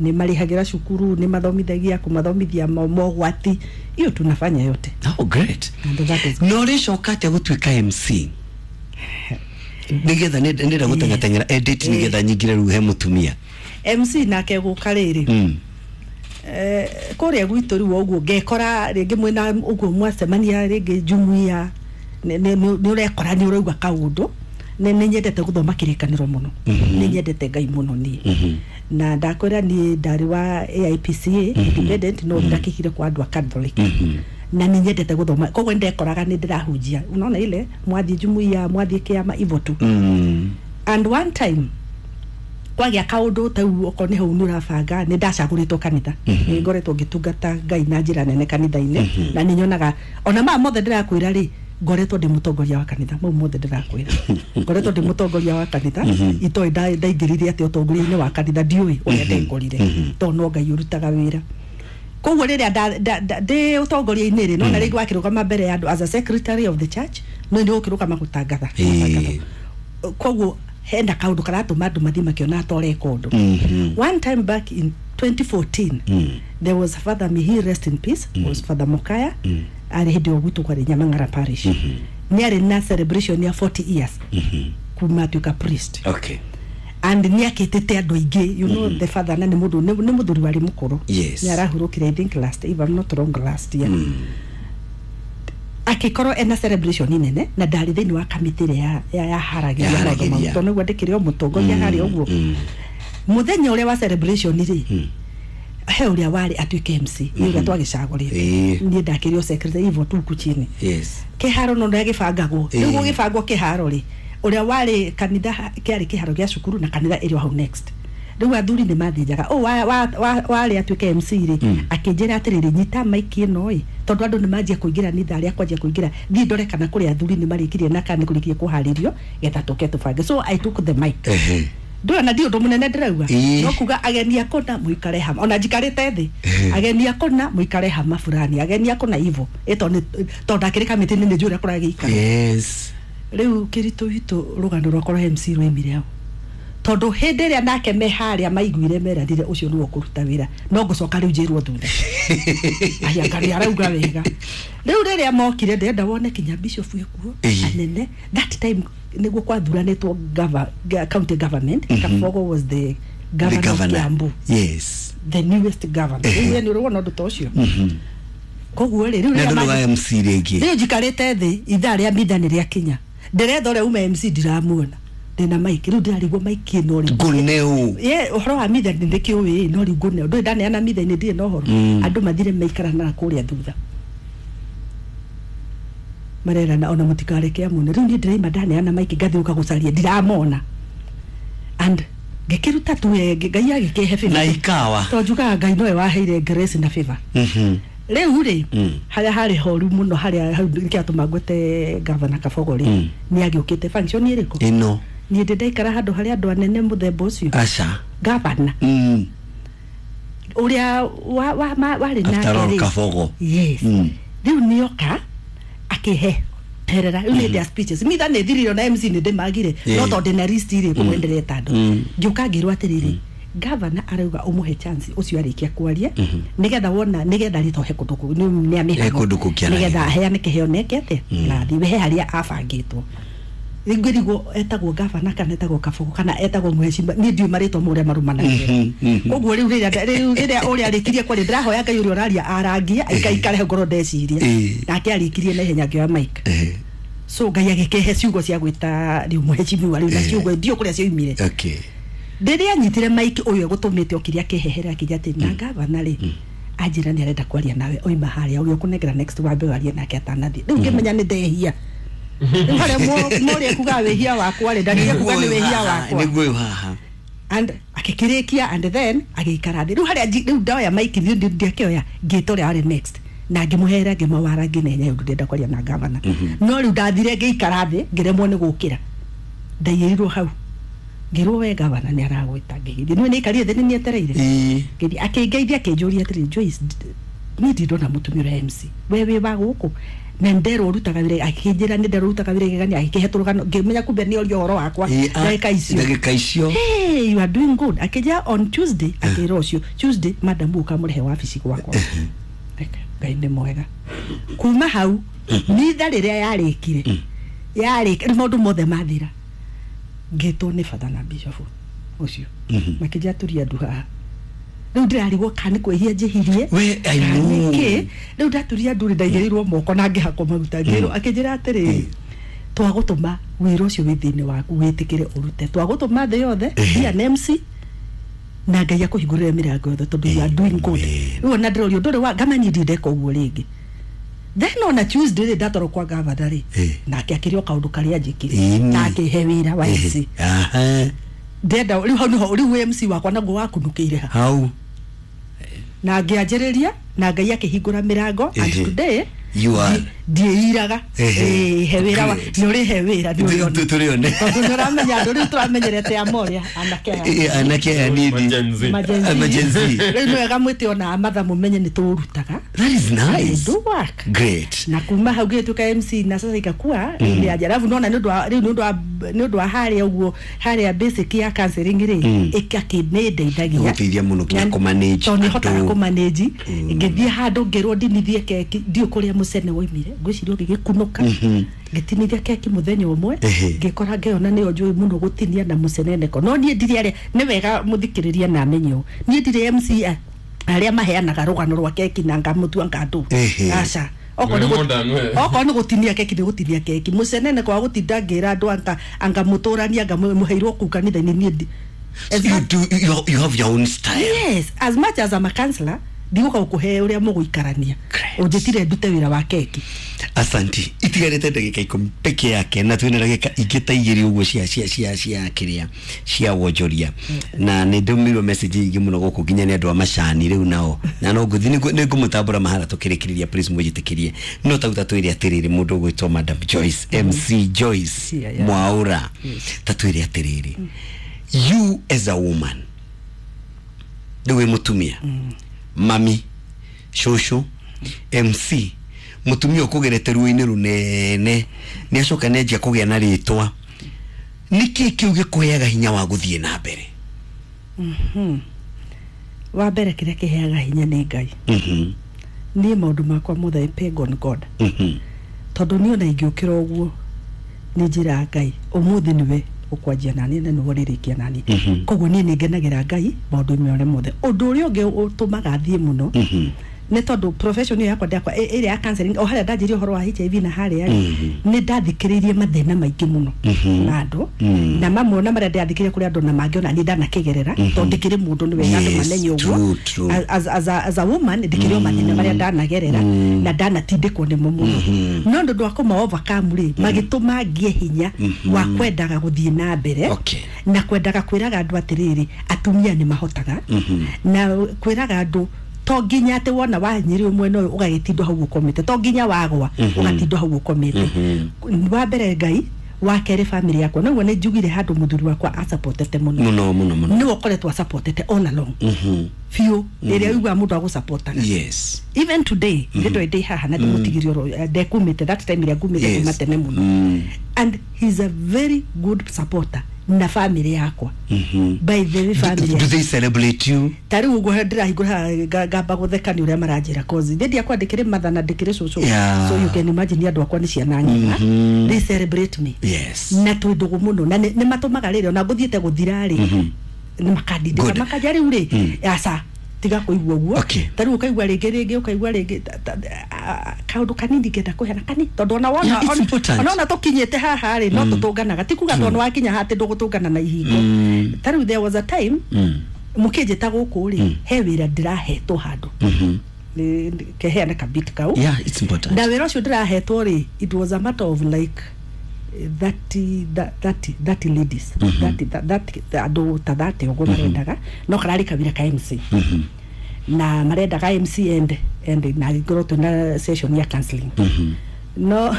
nĩ marĩhagĩra cukuru, nĩ mathomithagia, kũmathomithia mogwati, hiyo tunafanya yote. Oh, great. And that is Na ũrĩcoka atĩa gũtuĩka MC, nĩgetha ndĩrenda gũteng'ateng'era edit, nĩgetha nyingĩre rĩu he mũtumia? MC nake gũka rĩrĩ, kũrĩa gwitũ rĩu ũguo ngekora rĩngĩ mwĩna ũguo mwacemania rĩngĩ jumuiya, nĩ ũrekora nĩ ũraigua kaũndũ. Nĩ nyendete gũthoma kĩrĩkanĩro mũno, nĩ nyendete Ngai mũno niĩ, na ndakwĩra niĩ ndarĩ wa AIPCA independent, no ndakĩhire kwa andũ a Catholic, na nĩ nyendete gũthoma, koguo nĩ ndekoraga nĩ ndĩrahunjia, unaona ile mwathiĩ jumuiya, mwathiĩ kĩama ivo tu. And one time kwagĩa kaũndũ tau, okorwo nĩ hau nĩ ũrabanga, nĩ ndacagũrĩtwo kanitha. Nĩ ngoretwo ngĩtungata Ngai na njĩra nene kanitha-inĩ, na nĩ nyonaga ona maya mothe ndĩrakwĩra rĩ, ngoretwo ndĩ mũtongoria wa kanitha. Mau mothe ndĩrakwĩra, ngoretwo ndĩ mũtongoria wa kanitha. Itoĩ ndaingĩrire atĩ ũtongoria-inĩ wa kanitha, ndiũĩ ũrĩa ndengorire, tondũ no Ngai ũrutaga wĩra. Koguo rĩrĩa ndĩ ũtongoria-inĩ rĩ, nona rĩngĩ wakĩrũgama mbere ya andũ as a secretary of the church, no nĩ ũkĩrũgama gũtangatha. Koguo hena kaũndũ karatũma andũ mathiĩ makĩona ta ũreka ũndũ. One time back in 2014, there was Father, may he rest in peace, was Father Mokaya, arĩ hĩndĩ ĩyo gwitũ kwarĩ Nyamang'ara Parish. Nĩ arĩ na celebration ya 40 years kuma atuĩka priest, and nĩ akĩtĩte andũ aingĩ, you know, the father, na nĩ mũndũ nĩ mũthuri warĩ mũkũrũ. Nĩ arahurũkire, I think last, if I'm not wrong, last year. Akĩkorwo ena celebration nene, na ndarĩ thĩinĩ wa kamĩtĩ ĩrĩa yaharagĩria maũndũ mau, Yaharagĩria. tondũ nĩguo ndĩkĩrĩ o mũtongoria harĩa ũguo. Mũthenya ũrĩa wa celebration rĩ, He ũrĩa warĩ atuĩke MC nĩ ũrĩa twagĩcagũrĩte. Niĩ ndakĩrĩ o secretary hivyo tu huku chini. Yes. Kĩharo no ndagĩbangagwo. Rĩu gũgĩbangwo kĩharo rĩ, ũrĩa warĩ kanitha kĩarĩ kĩharo gĩa cukuru na kanitha ĩrĩ o hau next. Rĩu athuri nĩ mathĩnjaga ũ warĩ atuĩke MC rĩ, akĩnjĩra atĩrĩrĩ, nyita maiki ĩno ĩ, tondũ andũ nĩ manjia kũingĩra nĩ ithaa rĩa kwanjia kũingĩra, thiĩ ndore kana kũrĩ athuri nĩ marĩkirie na kana nĩ kũrĩkirie kũharĩrio getha tũke tũbange. So I took the mic. Ndũrona ndi ũndũ mũnene ndĩrauga, no kuga ageni akona mũikare hama, ona njikarĩte thĩ, ageni akona mũikare hama fulani, ageni akona ivo ĩto tondũ ndakĩrĩ kamĩtĩ-inĩ nĩ njũĩ ũrĩa kũragĩikara. Yes. Rĩu kĩritũ witũ rũgano rwakwa rwa MC rwaimire hau, tondũ hĩndĩ ĩrĩa nake me harĩa maiguire meranire ũcio nĩwe ũkũruta wĩra, no ngũcoka rĩu njĩrwo thutha aya ngarĩ arauga wega. Rĩu rĩrĩa mokire ndĩrenda wone kinya bishop ekuo anene. That time nĩguo kwathuranĩtwo county government. Kabogo was the governor, the governor of Kiambu. Yes. The newest governor. Rĩu nĩ ũrona ũndũ ta ũcio. Koguo rĩ, rĩu rĩrĩa wa MC rĩngĩ rĩu njikarĩte thĩ, ithaa rĩa mitha nĩ rĩakinya, ndĩretha ũrĩa uma MC ndiramuona, ndĩna maiki rĩu ndĩrarigwo maiki ĩno rĩ ngũneu. Ye ũhoro wa mitha nĩ ndĩkĩũĩ, no rĩu ngũneu ndũrĩ ndaneana mitha-inĩ, ndirĩ na ũhoro. Andũ mathire maikara na kũrĩa thutha marerana ona mũtikareke amone. Rĩu niĩ ndĩraima ndaneana maiki ngathiũka gũcaria ndiramona, and ngĩkĩruta tu Ngai agĩkĩhe favor na ikawa tondũ njugaga Ngai nowe waheire grace na favor. Rĩu rĩ, harĩa harĩ horu mũno, harĩa hau nĩkĩatũma ngwete Governor Kabogo rĩ, nĩ agĩũkĩte function ĩrĩkũ ĩno. Niĩ ndĩ ndaikara handũ harĩa andũ anene mũthemba ũcio. Aca. Governor ũrĩa warĩ nake rĩ, Kabogo. Yes. Rĩu nĩoka akĩhe herera rĩu nĩ ndĩa speeches mitha nĩ thirire na MC nĩ ndĩmagire, no tondũ ndĩna list rĩ kũmwe ndĩreta andũ, ngĩũka ngĩrwo atĩrĩrĩ, Governor arauga ũmũhe chance ũcio arĩkia kwaria, nĩgetha wona nĩgetha rĩtohe kũndũ kũu nĩ amĩhang'o nĩgetha aheane kĩheo neke atĩa nathi we he harĩa abangĩtwo. Rĩu ngĩrigwo etagwo Governor kana etagwo Kabogo kana etagwo mũhecima, niĩ ndiũĩ marĩtwa ma ũrĩa marũmanagĩrĩra. Koguo rĩu rĩrĩa ũrĩa arĩkirie kwaria, ndĩrahoya Ngai ũrĩa ũraria arangie aikaikare hau ngorwo ndeciria, nake arĩkirie na ihenya ngĩoya mic. So Ngai agĩkĩhe ciugo cia gwĩta rĩu mũhecimiwa rĩu, na ciugo ndiũ kũrĩa cioimire. Okay. Rĩrĩa anyitire mic ũyũ egũtũmĩte okire akĩhehera akĩnjĩra atĩ na Governor rĩ anjĩra nĩ arenda kwaria nawe, oima harĩa ũrĩa ũkũnengera next wambe warie nake atanathiĩ. Rĩu ngĩmenya nĩ ndehia. Rĩu harĩa mũrĩa kuga wĩhia wakwa rĩ, ndarire kuga nĩ wĩhia wakwa. Nĩguo ũyũ haha. And akĩkĩrĩkia and then agĩikara thĩ. Rĩu harĩa rĩu ndoya mic niĩ ndiakĩoya ngĩta ũrĩa warĩ next na ngĩmũhera ngĩmawara ngĩnenya ũndũ ndĩrenda kwaria na Governor. No rĩu ndathire ngĩikara thĩ ngĩremwo nĩ gũkĩra, ndaiyĩrirwo hau ngĩrwo we Governor nĩ aragwĩta. Ngĩgĩthiĩ nĩ nĩikarire thĩ nĩ nĩetereire. Ngĩthiĩ akĩngeithia akĩnjũria atĩrĩ, Joyce, niĩ ndirona mũtumia ũrĩa MC we wĩ wa gũkũ na nderwo ũrutaga wĩra, akĩnjĩra nĩ nderwo ũrutaga wĩra igegania, akĩhe tũrũgano ngĩmenya kumbe nĩ oria ũhoro wakwa ndagĩka icio. Ndagĩka icio. Hey, you are doing good. Akĩnjĩra on Tuesday, akĩra ũcio Tuesday madam ũkamũrehe wabici gwakwa. Ngai nĩ mwega. Kuma hau mitha rĩrĩa yarĩkire yarĩkire maũndũ mothe mathira, ngĩtwo nĩ batha na bishop ũcio makĩnjĩra tũria andũ haha. Rĩu ndĩrarigwo kana nĩ kwĩhia njĩhirie nĩkĩ. Rĩu ndaturia andũ rĩ, ndaigĩrĩirwo moko na ngĩhakwo maguta, ngĩrwo akĩnjĩra atĩrĩrĩ, twagũtũma wĩra ũcio wĩ thĩinĩ waku wĩtĩkĩre ũrute, twagũtũma thĩ yothe be an MC na Ngai akũhingũrĩre mĩrango yothe tondũ you are doing good. Rĩu ona ndĩrorio ndũrĩ wa ngama niĩ ndindeka ũguo rĩngĩ. Then ona Tuesday rĩ ndatwarwo kwa Governor rĩ, nake akĩrĩ o kaũndũ karĩa njĩkire na akĩhe wĩra wa MC. Ndenda rĩu hau nĩho rĩu MC wakwa naguo wakunũkĩire hau na ngĩanjĩrĩria na Ngai akĩhingũra mĩrango and today you are ndiĩiraga he wĩra wa nĩ ũrĩhe wĩra nĩ ũrĩona tũrĩone tondũ nĩ ũramenya andũ rĩu tũramenyerete a Moria anake aya anake aya nini Gen Z rĩu nĩ wega mwĩte ona amatha mũmenye nĩ tũrutaga. That is nice. Do work. Great. Na kuma hau gĩtuĩka MC na sasa ikakuwa nĩ aja alafu nona nĩ ũndũ wa harĩa ũguo harĩa basic ya counseling rĩ ĩkakĩnĩndeithagia gũteithia mũno kinya kũmanage tondũ nĩhotaga kũmanage. Ngĩthiĩ handũ ngĩrwo ndinithie keki ndiũ kũrĩa mũcene woimire ngwĩciria ũgĩgĩkunũka ngĩtinithia keki mũthenya ũmwe ngĩkora ngĩona nĩyo njũĩ mũno gũtinia na mũceneneko. No niĩ ndirĩ arĩa nĩ wega mũthikĩrĩria na amenye ũũ, niĩ ndirĩ MC arĩa maheanaga rũgano rwa keki na ngamũtua ngandũ. Aca, okorwo nĩ gũtinia keki nĩ gũtinia keki mũceneneko wa gũtinda ngĩra andũ anga mũtũrania anga mũheirwo kũu kanitha-inĩ niĩ So you do, you have your own style. Yes, as much as I'm a counselor, ndigoka gukuhe uria muguikarania. Unjitire ndute wira wa keki. Asanti. Itigarite ndagika 10 peke yake na twina ndagika ingĩ ta igĩrĩ ũguo cia kĩrĩa cia wonjoria. Na nĩ ndũmĩirwo message ingĩ mũno gũkũ nginya nĩ andũ a macani rĩu nao. Na no ngũthiĩ nĩ ngũmũtambũra mahara tũkĩrĩkĩrĩria, please mwĩjĩtĩkĩrie. No tauta twĩre atĩrĩrĩ, mũndũ ũgwĩtwo Madam Joyce, MC Joyce Mwaura. Ta twĩre atĩrĩrĩ, you as a woman, rĩu wĩ mũtumia, mami, shosho, MC, mutumia ukugerete ruo-inĩ runene nĩ acoka nĩ anjia kũgĩa na rĩtwa, nĩkĩ kĩu gĩkũheaga hinya wa gũthiĩ na mbere? Wa mbere kĩrĩa kĩheaga hinya nĩ Ngai. Niĩ maũndũ makwa mothe I peg on God. Tondũ niĩ ona ingĩũkĩra ũguo nĩ njĩraga Ngai ũmũthĩ nĩwe ũkwanjia naniĩ na nĩwe ũrĩrĩkia naniĩ. Koguo niĩ nĩ ngenagĩra Ngai maũndũ-inĩ marĩa mothe. Ũndũ ũrĩa ũngĩ ũtũmaga thiĩ mũno nĩ tondũ profession ĩyo yakwa ndakwa ĩrĩa ya counseling, o harĩa ndanjirie ũhoro wa HIV na harĩa rĩ, nĩ ndathikĩrĩirie mathĩna maingĩ mũno ma andũ, na mamwe ona marĩa ndathikĩrĩirie kũrĩ andũ na mangĩ ona niĩ ndanakĩgerera, tondũ ndĩkĩrĩ mũndũ nĩ wega andũ mamenye ũguo. As a woman ndĩkĩrĩ o mathĩna marĩa ndanagerera na ndanatindĩkwo nĩmo mũno, no ũndũ wa kũma overcome rĩ, magĩtũma ngĩe hinya wa kwendaga gũthiĩ na mbere na kwendaga kwĩraga andũ atĩrĩrĩ, atumia nĩ mahotaga, na kwĩraga andũ to nginya atĩ wona wahinyĩrĩrio mwena ũyũ ũgagĩtindwo hau ũkomete, to nginya wagwa ũgatindwo hau ũkomete. Wa mbere Ngai, wa kerĩ family yakwa. Noguo nĩ njugire handũ mũthuri wakwa asupportete mũno mũno mũno mũno, nĩwe ũkoretwo asupportete all along biũ, rĩrĩa ũiguaga mũndũ agũsupportaga. Yes. Even today ndĩ ndĩ haha na ndĩmũtigire oro ndekumĩte that time ĩrĩa ngumĩte kuma tene mũno, and he's a very good supporter na family yakwa. By the way, family do they celebrate you? Ta rĩu ũguo ndĩrahingũra ngamba gũtheka nĩ ũrĩa maranjĩra, cause ndĩ akwa ndĩkĩrĩ mother na ndĩkĩrĩ cũcũ. So you can imagine andũ akwa nĩ ciana ng'ima. They celebrate me. Yes. Na twĩ ndũgũ mũno na nĩ matũmaga rĩrĩ ona ngũthiĩte gũthira rĩ, nĩ makandindĩka makanja rĩu rĩ, aca tiga kũigua ũguo. Ta rĩu ũkaigua rĩngĩ ũkaigua rĩngĩ kaũndũ kanini ngenda kũheana kani, tondũ ona wona ona tũkinyĩte haha rĩ, no tũtũnganaga, ti kuga tondũ wakinya haha atĩ ndũgũtũngana na ihingo. Ta rĩu there was a time mũkĩnjĩta gũkũ rĩ, he wĩra ndĩrahetwo handũ keheana kabit kau. Yeah, it's important. Na wĩra ũcio ndĩrahetwo rĩ, it was a matter of like 30 ladies, 30 andũ ta 30 ũguo marendaga, no kararĩ kawĩra ka MC. Na marendaga MC and na ngorwo twĩna session ya counseling. No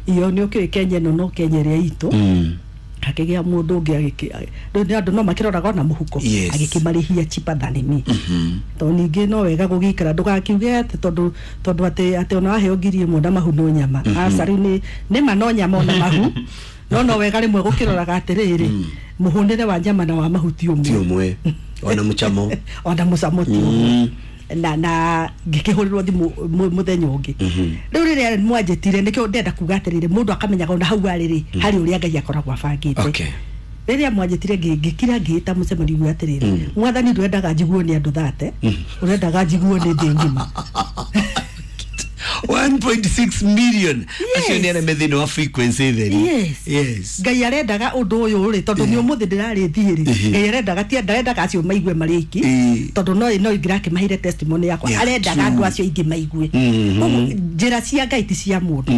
iyo nĩ ũkĩũĩ Kenya ĩno no Kenya ĩrĩa itũ, hakĩgĩa mũndũ ũngĩ rĩu andũ no makĩroraga ona mũhuko, agĩkĩmarĩhia cheaper than me. Tondũ ningĩ no wega gũgĩikara ndũgakiuge atĩ tondũ atĩ ona waheo 1,000 na mahu no nyama. Aca rĩu nĩ ma no nyama ona mahu, no wega rĩmwe gũkĩroraga atĩrĩrĩ, mũhũnĩre wa nyama na wa mahu ti ũmwe, ona mũcamo ona mũcamo ti ũmwe. Na ngĩkĩhũrĩrwo thimũ mũthenya ũngĩ. Rĩu rĩrĩa mwanjĩtire nĩkĩo ndenda kuga atĩrĩrĩ, mũndũ akamenyaga ona hau arĩ rĩ, harĩ ũrĩa Ngai akoragwo abangĩte. Rĩrĩa mwanjĩtire ngĩkira ngĩĩta mũcemanio ũyũ atĩrĩrĩ, mwathani ndwendaga njiguo nĩ andũ 30, ũrendaga njiguo nĩ thĩ ng'ima. 1.6 million. Acio nĩ arĩa me thĩinĩ wa frequency theri. Yes. Ngai arendaga ũndũ ũyũ rĩ, tondũ nĩ ũmũthĩ ndĩrarĩ thiĩ rĩ, Ngai arendaga ti ndarendaga acio maigue marĩ aiki, tondũ no ingĩrakĩmaheire testimony yakwa, arendaga andũ acio aingĩ maigue. Koguo njĩra cia Ngai ti cia mũndũ.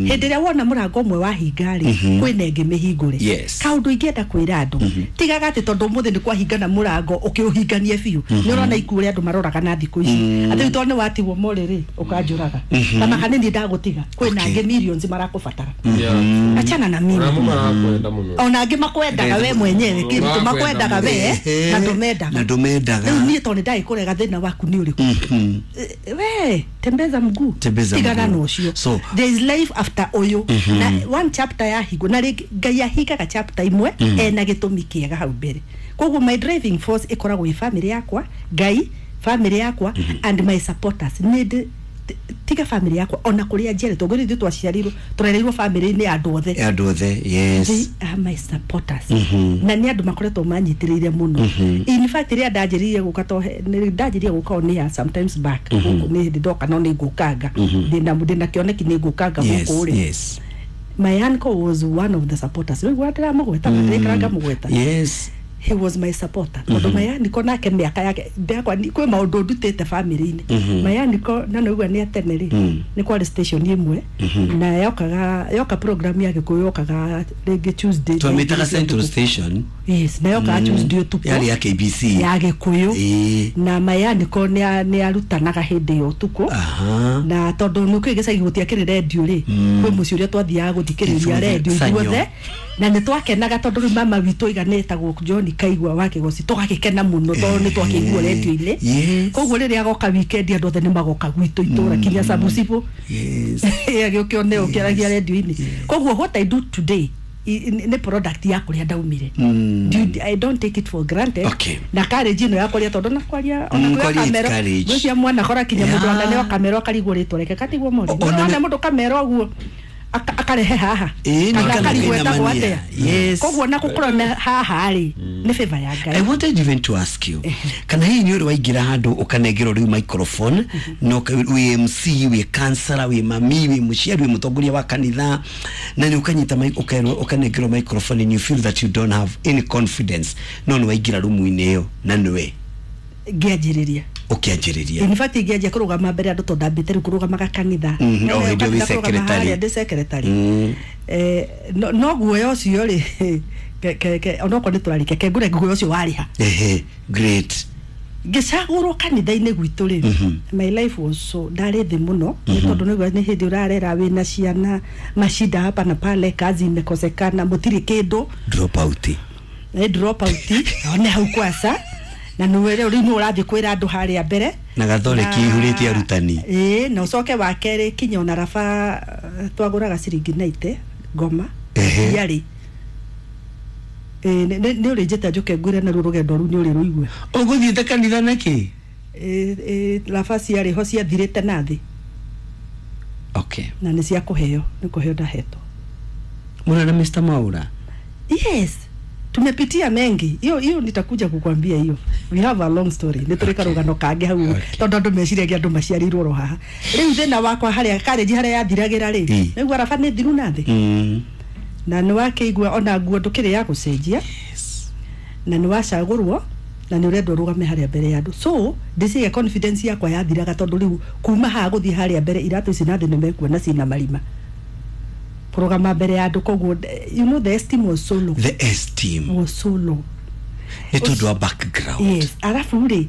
Hĩndĩ ĩrĩa wona mũrango ũmwe wahinga rĩ, kwĩna ĩngĩ mĩhingũre. Kaũndũ ingĩenda kwĩra andũ, tigaga atĩ tondũ ũmũthĩ nĩ kwahingana mũrango ũkĩũhinganie biũ. Nĩ ũrona ikuũ ũrĩa andũ maroraga na thikũ ici, atĩ rĩu tondũ nĩ watigwo morĩ rĩ, ũkanjũraga. Kama kanini ndagũtiga, kwĩna angĩ millions marakũbatara. Achana na mimi. Ona angĩ makwendaga we mwenyewe, kĩndũ makwendaga we na ndũmendaga. Na ndũmendaga. Rĩu niĩ tondũ nĩndagĩkũrega thĩna waku nĩ ũrĩkũ? We tembeza mguu, tigana na ũcio. There is life after ũyũ. Na one chapter yahingwo, na rĩngĩ Ngai ahingaga chapter imwe ena gĩtũmi kĩega hau mbere. Koguo my driving force ĩkoragwo ĩ family yakwa, Ngai, family yakwa and my supporters. Nĩ tiga family yakwa ona kuria njiarĩtwo, ngwĩra ithuĩ twaciarirwo tũrereirwo family-inĩ ya andũ othe. Andũ othe, yes. They are my supporters. Na nĩ andũ makoretwo manyitĩrĩire mũno. In fact rĩrĩa ndanjĩrĩirie gũka, to ndanjĩrĩirie gũka on air sometimes back, gũkũ nĩ hĩndĩ ndoka, no nĩ ngũkanga ndĩna kĩoneki nĩ ngũkanga gũkũ rĩ. My uncle was one of the supporters. Rĩu ndĩramũgweta, ndĩraikara ngamũgweta. Yes. He was my supporter tondu Mayaniko nake mĩaka yake ndakwa kwĩ maũndũ ndutĩte family-inĩ. Mayaniko na nĩguo nĩ atene rĩ, nĩ kwarĩ station ĩmwe na yokaga yoka program ya Gĩkũyũ yokaga rĩngĩ Tuesday. Twamĩtaga Central Station. Yes, na yokaga Tuesday ũtukũ. Yarĩ ya KBC. Ya Gĩkũyũ. Na Mayaniko nĩ arutanaga hĩndĩ ya ũtukũ. Na tondũ nĩ kũĩ gĩcagi gũtiakĩrĩ rendio rĩ, kwĩ mũciĩ ũrĩa twathiaga gũthikĩrĩria rendio ithuothe, na nĩ twakenaga tondũ rĩu mama witũ aiga nĩ etagwo John Kaigua wa Kĩgoci, tũgagĩkena mũno tondũ nĩ twakĩigua rendio-inĩ. Koguo rĩrĩa agoka weekend andũ othe nĩ magoka gwitũ itũra kinya Sabusibu. Agĩũke one ũkĩaragia rendio-inĩ. Koguo what I do today nĩ product ya kũrĩa ndaumire. I don't take it for granted. Na courage ĩno ya kwaria, tondũ na kwaria ona kwĩ kamera gwĩcia mwana kora kinya mũndũ ananeo kamera akarigwo rĩtwa rĩake katigwo mori ona mũndũ kamera ũguo akarehe haha kana akarigwo etagwo atĩa. Koguo na gũkorwo na haha rĩ nĩ favor ya Ngai. I wanted even to ask you, kana hihi nĩ ũrĩ waingĩra handũ ũkanengerwo rĩu microphone no wĩ MC, wĩ counselor, wĩ mami, wĩ mũciari, wĩ mũtongoria wa kanitha, na nĩ ũkanyita ũkerwo ũkanengerwo microphone and you feel that you don't have any confidence, no nĩ waingĩra rumu-inĩ ĩyo na nĩwe ngĩanjĩrĩria ũkĩanjĩrĩria? In fact ingĩanjia kũrũgama mbere andũ tondũ ndambĩte rĩu kũrũgamaga kanitha. O hĩndĩ wĩ secretary. Ndĩ secretary. No guoya ũcio rĩ, onokorwo nĩ tũrarĩkia kengũre guoya ũcio warĩha. Great. Ngĩcagũrwo kanitha-inĩ gwitũ rĩ, my life was so ndarĩ thĩ mũno nĩ tondũ nĩguo nĩ hĩndĩ ũrarera wĩna ciana, mashida hapa na pale, kazi imekosekana, mũtirĩ kĩndũ. Drop out. Nĩ drop out one hau kwasa na nĩwe rĩu nĩ ũrathiĩ kwĩra andũ harĩa mbere na gathore kĩihũrĩte arutani. Na ũcoke wa kerĩ kinya ona raba twagũraga ciringi 90 ngoma yarĩ. Nĩ ũrĩnjĩte njũke ngwĩre naruo rũgendo rũu nĩ ũrĩ rũigue. Ũgũthiĩte kanitha nakĩ? Raba ciarĩ ho ciathirĩte na thĩ. Okay. Na nĩ cia kũheo, nĩ kũheo ndahetwo. Mũrĩ na Mr. Mwaura? Yes. Tumepitia mengi. Hiyo hiyo nitakuja kukwambia hiyo. We have a long story. Nĩ tũrĩ karũgano kangĩ hau tondũ andũ meciragia andũ maciarĩirwo ro haha. Rĩu thĩna wakwa harĩa karĩnji harĩa yathiragĩra rĩ, nĩguo raba nĩ thiru na thĩ. Na nĩ wakĩigua ona nguo ndũkĩrĩ ya gũcenjia. Na nĩ wacagũrwo na nĩ ũrendwo ũrũgame harĩa mbere ya andũ. So ndĩciria confidence yakwa yathiraga tondũ rĩu kuma haha gũthiĩ harĩa mbere iratũ ici na thĩ nĩ mekuona cina marima. Kũrũgama mbere ya andũ, koguo you know the esteem was so low. The esteem was so low. Nĩ tondũ wa background. Yes, arabu rĩ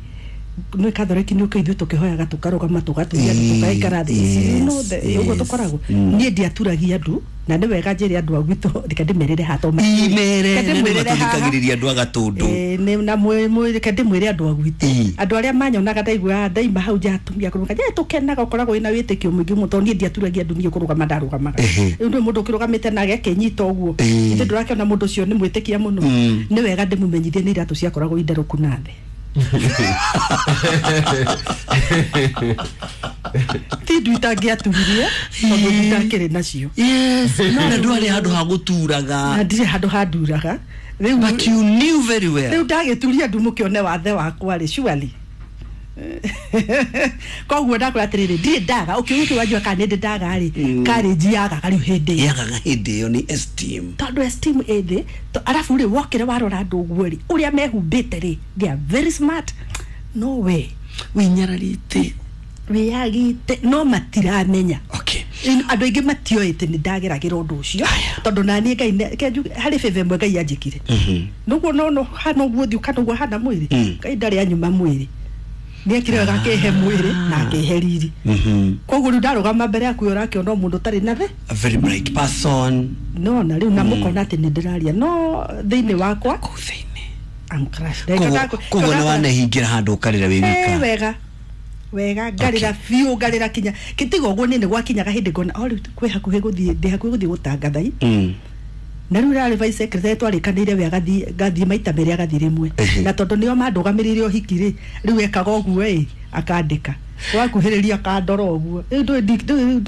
nĩ kathoreki nĩ ũkĩ ithuĩ tũkĩhoyaga tũkarũgama tũgaturia tũgaikara thĩ. You know ũguo tũkoragwo. Niĩ ndiaturagia andũ na nĩ wega njĩre andũ a gwitũ reke ndĩmerĩre haha tondũ imere nĩ matũthikagĩrĩria andũ a Gatũndũ. Na reke ndĩmwĩre andũ a gwitũ andũ arĩa manyonaga ndaigua ndaima hau nja atumia kũrũgama nja tũkenaga ũkoragwo wĩna wĩtĩkio mũingĩ mũno tondũ niĩ ndiaturagia andũ, niĩ kũrũgama ndarũgamaga. Rĩu nĩ mũndũ ũkĩrũgamĩte na agakĩnyita ũguo ithe ndũrakĩona mũndũ ũcio nĩ mwĩtĩkia mũno. Nĩ wega ndĩmũmenyithie nĩ iratũ ciakoragwo inderũku na thĩ. Ti ndu itangĩaturirie tondũ ndakĩrĩ nacio. Yes, na ndwarĩ handũ ha gũturaga. Na ndirĩ handũ handuraga. But you knew very well. Rĩu ndagĩturia andũ mũkĩone wathe wakwa rĩ, surely. Koguo ndakwĩra atĩrĩrĩ, ndirĩ ndaga ũkĩũria wanjua kana nĩ ndaga rĩ, karĩnji yagaga rĩu hĩndĩ ĩyo. Yagaga hĩndĩ ĩyo nĩ esteem. Tondũ esteem ĩ thĩ, arabu rĩ wokĩra warora andũ ũguo rĩ, ũrĩa mehumbĩte rĩ, they are very smart. No way. Wĩnyararĩte. Wĩyagĩte no matiramenya. Okay. Andũ aingĩ matioĩ atĩ nĩ ndageragĩra ũndũ ũcio tondũ naniĩ Ngai harĩ favor ĩmwe Ngai anjĩkire. Nĩguo no hana ũguo thiũ kana ũguo hana mwĩrĩ, Ngai ndarĩ anyuma mwĩrĩ. Nĩekire wega akĩhe mwĩrĩ na akĩhe riri. Koguo rĩu ndarũgama mbere yaku ũrakĩona mũndũ ũtarĩ na thĩ. A very bright person. No na rĩu na mũkona atĩ nĩ ndĩraria no thĩinĩ wakwa kũu thĩinĩ I'm crushed. Koguo nĩ wanehingĩra handũ ũkarĩra wĩ wika. Wega. Wega ngarĩra biũ ngarĩra kinya kĩtiga ũguo nĩ gwakinyaga hĩndĩ ngona o rĩu kwĩ hakuhĩ gũthiĩ ndĩ hakuhĩ gũthiĩ gũtangatha. Na rĩu rarĩ vice secretary twarĩkanĩire we agathiĩ maita merĩ agathiĩ rĩmwe na tondũ nĩo mandũgamĩrĩire ũhiki rĩ, rĩu ekaga ũguo ĩ akandĩka wakuhĩrĩria akandora ũguo rĩu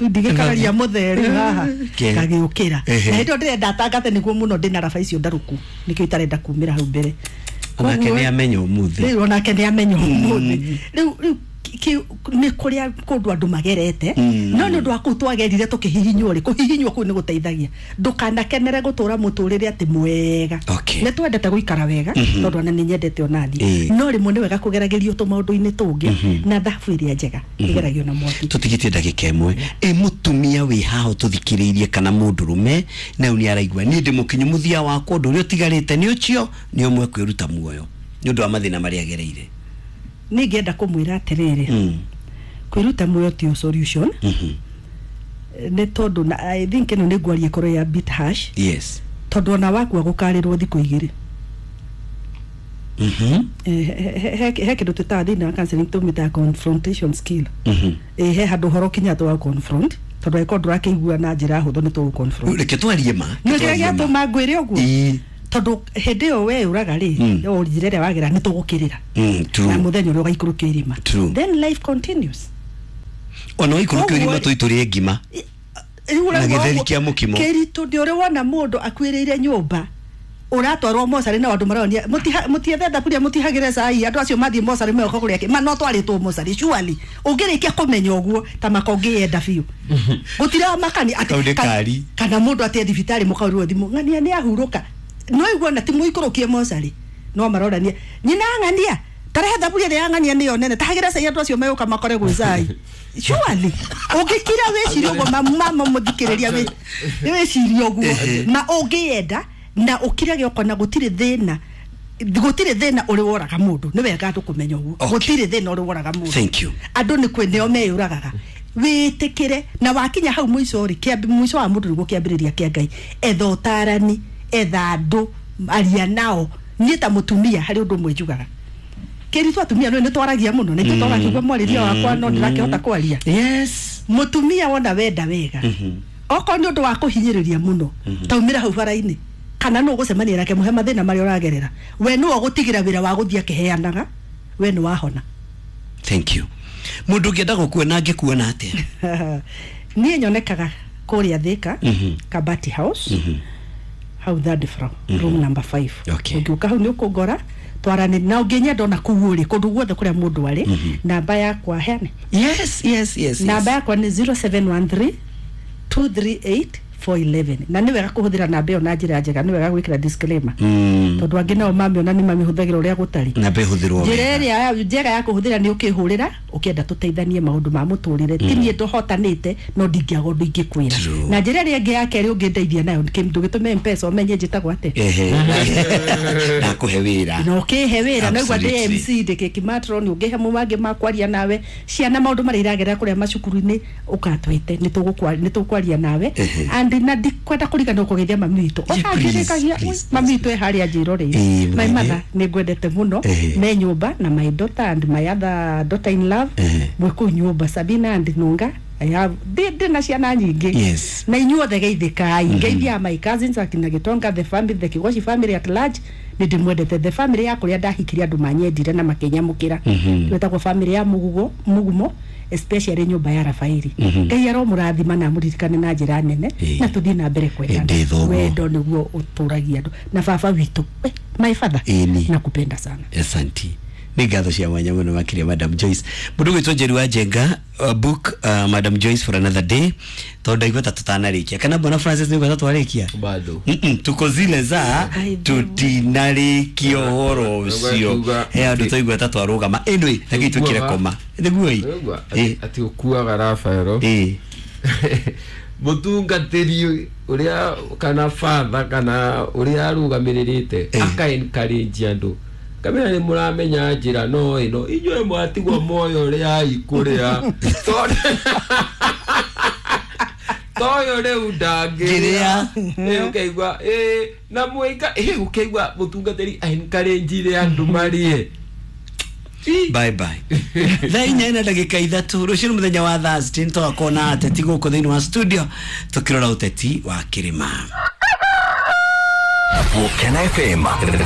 ndigĩkararia mũthee rĩu haha ngagĩũkĩra. Na hĩndĩ ĩyo ndĩrenda atangathe nĩguo mũno ndĩna raba icio ndarũku nĩkĩo itarenda kumĩra hau mbere. Onake nĩ amenya ũmũthĩ. Rĩu onake nĩ amenya ũmũthĩ. Rĩu Nĩ kũrĩa kũndũ andũ magerete no nĩ ũndũ wa kũu twagerire tũkĩhihinywo rĩ, kũhihinywo kũu nĩ gũteithagia. Ndũkanakenere gũtũra mũtũrĩre atĩ mwega. Okay. Nĩ twendete gũikara wega tondũ ona nĩ nyendete onaniĩ, no rĩmwe nĩ wega kũgeragĩrio tũmaũndũ-inĩ tũngĩ, na thabu ĩrĩa njega ĩgeragio na mwaki. Tũtigĩtie ndagĩka ĩmwe. Ĩ mũtumia wĩ haha ũtũthikĩrĩirie kana mũndũrũme na rĩu nĩ araigua niĩ ndĩ mũkinyu mũthia wakwa, ũndũ ũrĩa ũtigarĩte nĩ ũcio nĩ ũmwe kwĩruta muoyo nĩ ũndũ wa mathĩna marĩa agereire? Niĩ ngĩenda kũmwĩra atĩrĩrĩ, kwĩruta muoyo ti solution, nĩ tondũ na I think ĩno nĩ ngwaria ĩkorwo ya bit harsh, tondũ ona wakua gũkarĩrwo thikũ 2. He kĩndũ twĩtaga thĩinĩ wa counseling tũmĩtaga confrontation skill. He handũ ũhoro ũkinya twa confront, tondũ angĩkorwo ndũrakĩigua na njĩra hũthũ nĩ tũgũ confront. Reke twarie ma. Nĩ kĩrĩa gĩatũma ngwĩre ũguo, tondũ hĩndĩ ĩyo we ũraga rĩ, o njĩra ĩrĩa wagera nĩ tũgũkĩrĩra na mũthenya ũrĩa ũgaikũrũkio irima. Then life continues. Ona waikũrũkio irima Koguo- tũitũrie ngima Rĩu na ũraigua gĩtheri ũguo, kĩa mũkimo. Kĩritũ nĩ ũrĩ wona mũndũ akuĩrĩire nyũmba ũratwarwo mocarĩ na andũ maronia mũtiethe thaburia mũtihagĩre cai, andũ acio mathiĩ mocarĩ meoka kũrĩa kĩ ma no twarĩtwo mocarĩ. Surely ũngĩrĩkia kũmenya ũguo ta maka ũngĩyenda biũ gũtira makani atĩ Kau nĩ kari. Kana mũndũ atĩ thibitarĩ mũkaũrwo thimũ ng'ania nĩ ahurũka, no igua na ti mũikũrũkie mocarĩ no marorania nyina ng'ania tarehe thaburia ĩrĩa ya ng'ania nĩyo nene tahagĩra cai andũ acio megũka makore gwĩ cai. Surely ũngĩkira wĩcirie ũguo, mama mũthikĩrĩria, wĩcirie ũguo ma ũngĩenda na ũkirage ũkona gũtirĩ thĩna, gũtirĩ thĩna ũrĩ woraga mũndũ. Nĩ wega andũ kũmenya ũguo. Gũtirĩ thĩna ũrĩ woraga mũndũ. Thank you. Andũ nĩ kwĩ nĩo meyũragaga. Wĩtĩkĩre na wakinya hau mũico rĩ, mũico wa mũndũ nĩguo kĩambĩrĩria kĩa Ngai. Etha ũtarani, etha andũ, aria nao. Niĩ ta mũtumia harĩ ũndũ ũmwe njugaga kĩritũ, atumia nĩ twaragia mũno na ithuĩ twagakĩigua mwarĩrie wakwa no ndĩrakĩhota kwaria. Mũtumia wona wenda wega, okorwo nĩ ũndũ wa kũhinyĩrĩria mũno, taumĩra hau bara-inĩ kana nũ ũgũcemania nake mũhe mathĩna marĩa ũragerera, we nĩwe ũgũtigĩra wĩra wa gũthiĩ akĩheanaga, we nĩ wahona. Thank you. Mũndũ ũngĩenda gũkuona angĩkuona atĩa? Niĩ nyonekaga kũrĩa Thika, Kabati House, hau third floor, room number 5. Ũngĩũka hau nĩ ũkũngora twarane, na ũngĩnyenda ona kũu ũrĩ kũndũ guothe kũrĩa mũndũ arĩ, namba yakwa heane. Yes. Namba yakwa nĩ 0713 238 411, na nĩ wega kũhũthĩra namba ĩyo na njĩra njega, nĩ wega gwĩkĩra disclaimer, tondũ angĩ nao mamĩona nĩ mamĩhũthagĩra ũrĩa gũtarĩ. Namba ĩhũthĩrwo Njĩra wega. ĩrĩa njega ya kũhũthĩra nĩ ũkĩhũrĩra ũkĩenda tũteithanie maũndũ ma mũtũrĩre. Ti niĩ ndũhotanĩte no ndingĩaga ũndũ ingĩkwĩra. Na njĩra ĩrĩa ĩngĩ ya kerĩ ũngĩndeithia nayo, ndũgĩtũme Mpesa ũmenye njĩtagwo atĩa. Ehe, nakũhe wĩra. Na ũkĩhe wĩra naigua ndĩ Absolutely. MC ndĩ kĩmatron, ũngĩhe mangĩ ma kwaria nawe ciana maũndũ marĩa iragerera kũrĩa macukuru-inĩ ũkatwĩte nĩ tũkwaria nawe. And na ndikwenda kũriganĩrwo kũgeithia mami witũ. Yeah, please, Ũkangĩrĩkagia please, mami witũ e harĩa njĩroreire. Ĩĩ, My mũgeithie. mother, nĩ ngwendete mũno. Me nyũmba na my daughter and my other daughter in love mwĩ kũu nyũmba, Sabina and Nunga. I have ndĩ na ciana nyingĩ. Na inyuothe geithĩkai, ngeithia my cousins akina Gitonga, the family, the Kigoshi family at large, nĩ ndĩmwendete. The family ya kũrĩa ndahikirie andũ manyendire na makĩnyamũkĩra, twĩtagwo family ya Mugugo Mugumo, especially nyũmba ya Rafaeli. Ngai aromũrathima na amũririkane na njĩra nene, na tũthiĩ na mbere kwendana. Ndĩ thoguo. Wendo nĩguo ũtũragia andũ. Na baba witũ, we, my father, Ĩni. nakupenda sana. Asanti, nĩ ngatho cia mwanya mũno makĩria Madam Joyce. Mũndũ gwĩtwo Njeri wa Njenga, book Madam Joyce for another day, tondũ ndaigua ta tũtanarĩkia, kana bwana Francis nĩ ta twarĩkia? Bado. Tuko zile za Ai, tutinarĩkia ũhoro ũcio. He andũ twaigua ta twarũgama. Anyway, reke twĩkĩre koma nĩguo ĩ. Ũigua, atĩ ũkuaga Rafaelo mũtungatĩri ũrĩa kana father kana ũrĩa arũgamĩrĩrĩte aka encourage andũ kamera nĩ mũramenya njĩra no ĩno inyuĩ mwatigwo moyo ũrĩa ikũrĩa toyo rĩu ndangĩrĩa. Ngĩrĩa. Ĩ, ũkaigua ĩ, na mwĩka ĩ, ũkaigua mũtungatĩri encourage andũ marĩe. Ĩ. Bye bye. 4:03 rũciũ nĩ mũthenya wa Thursday, nĩtũgakorwo na ateti gũkũ thĩinĩ wa studio tũkĩrora ũteti wa kĩrĩma. Volcano FM.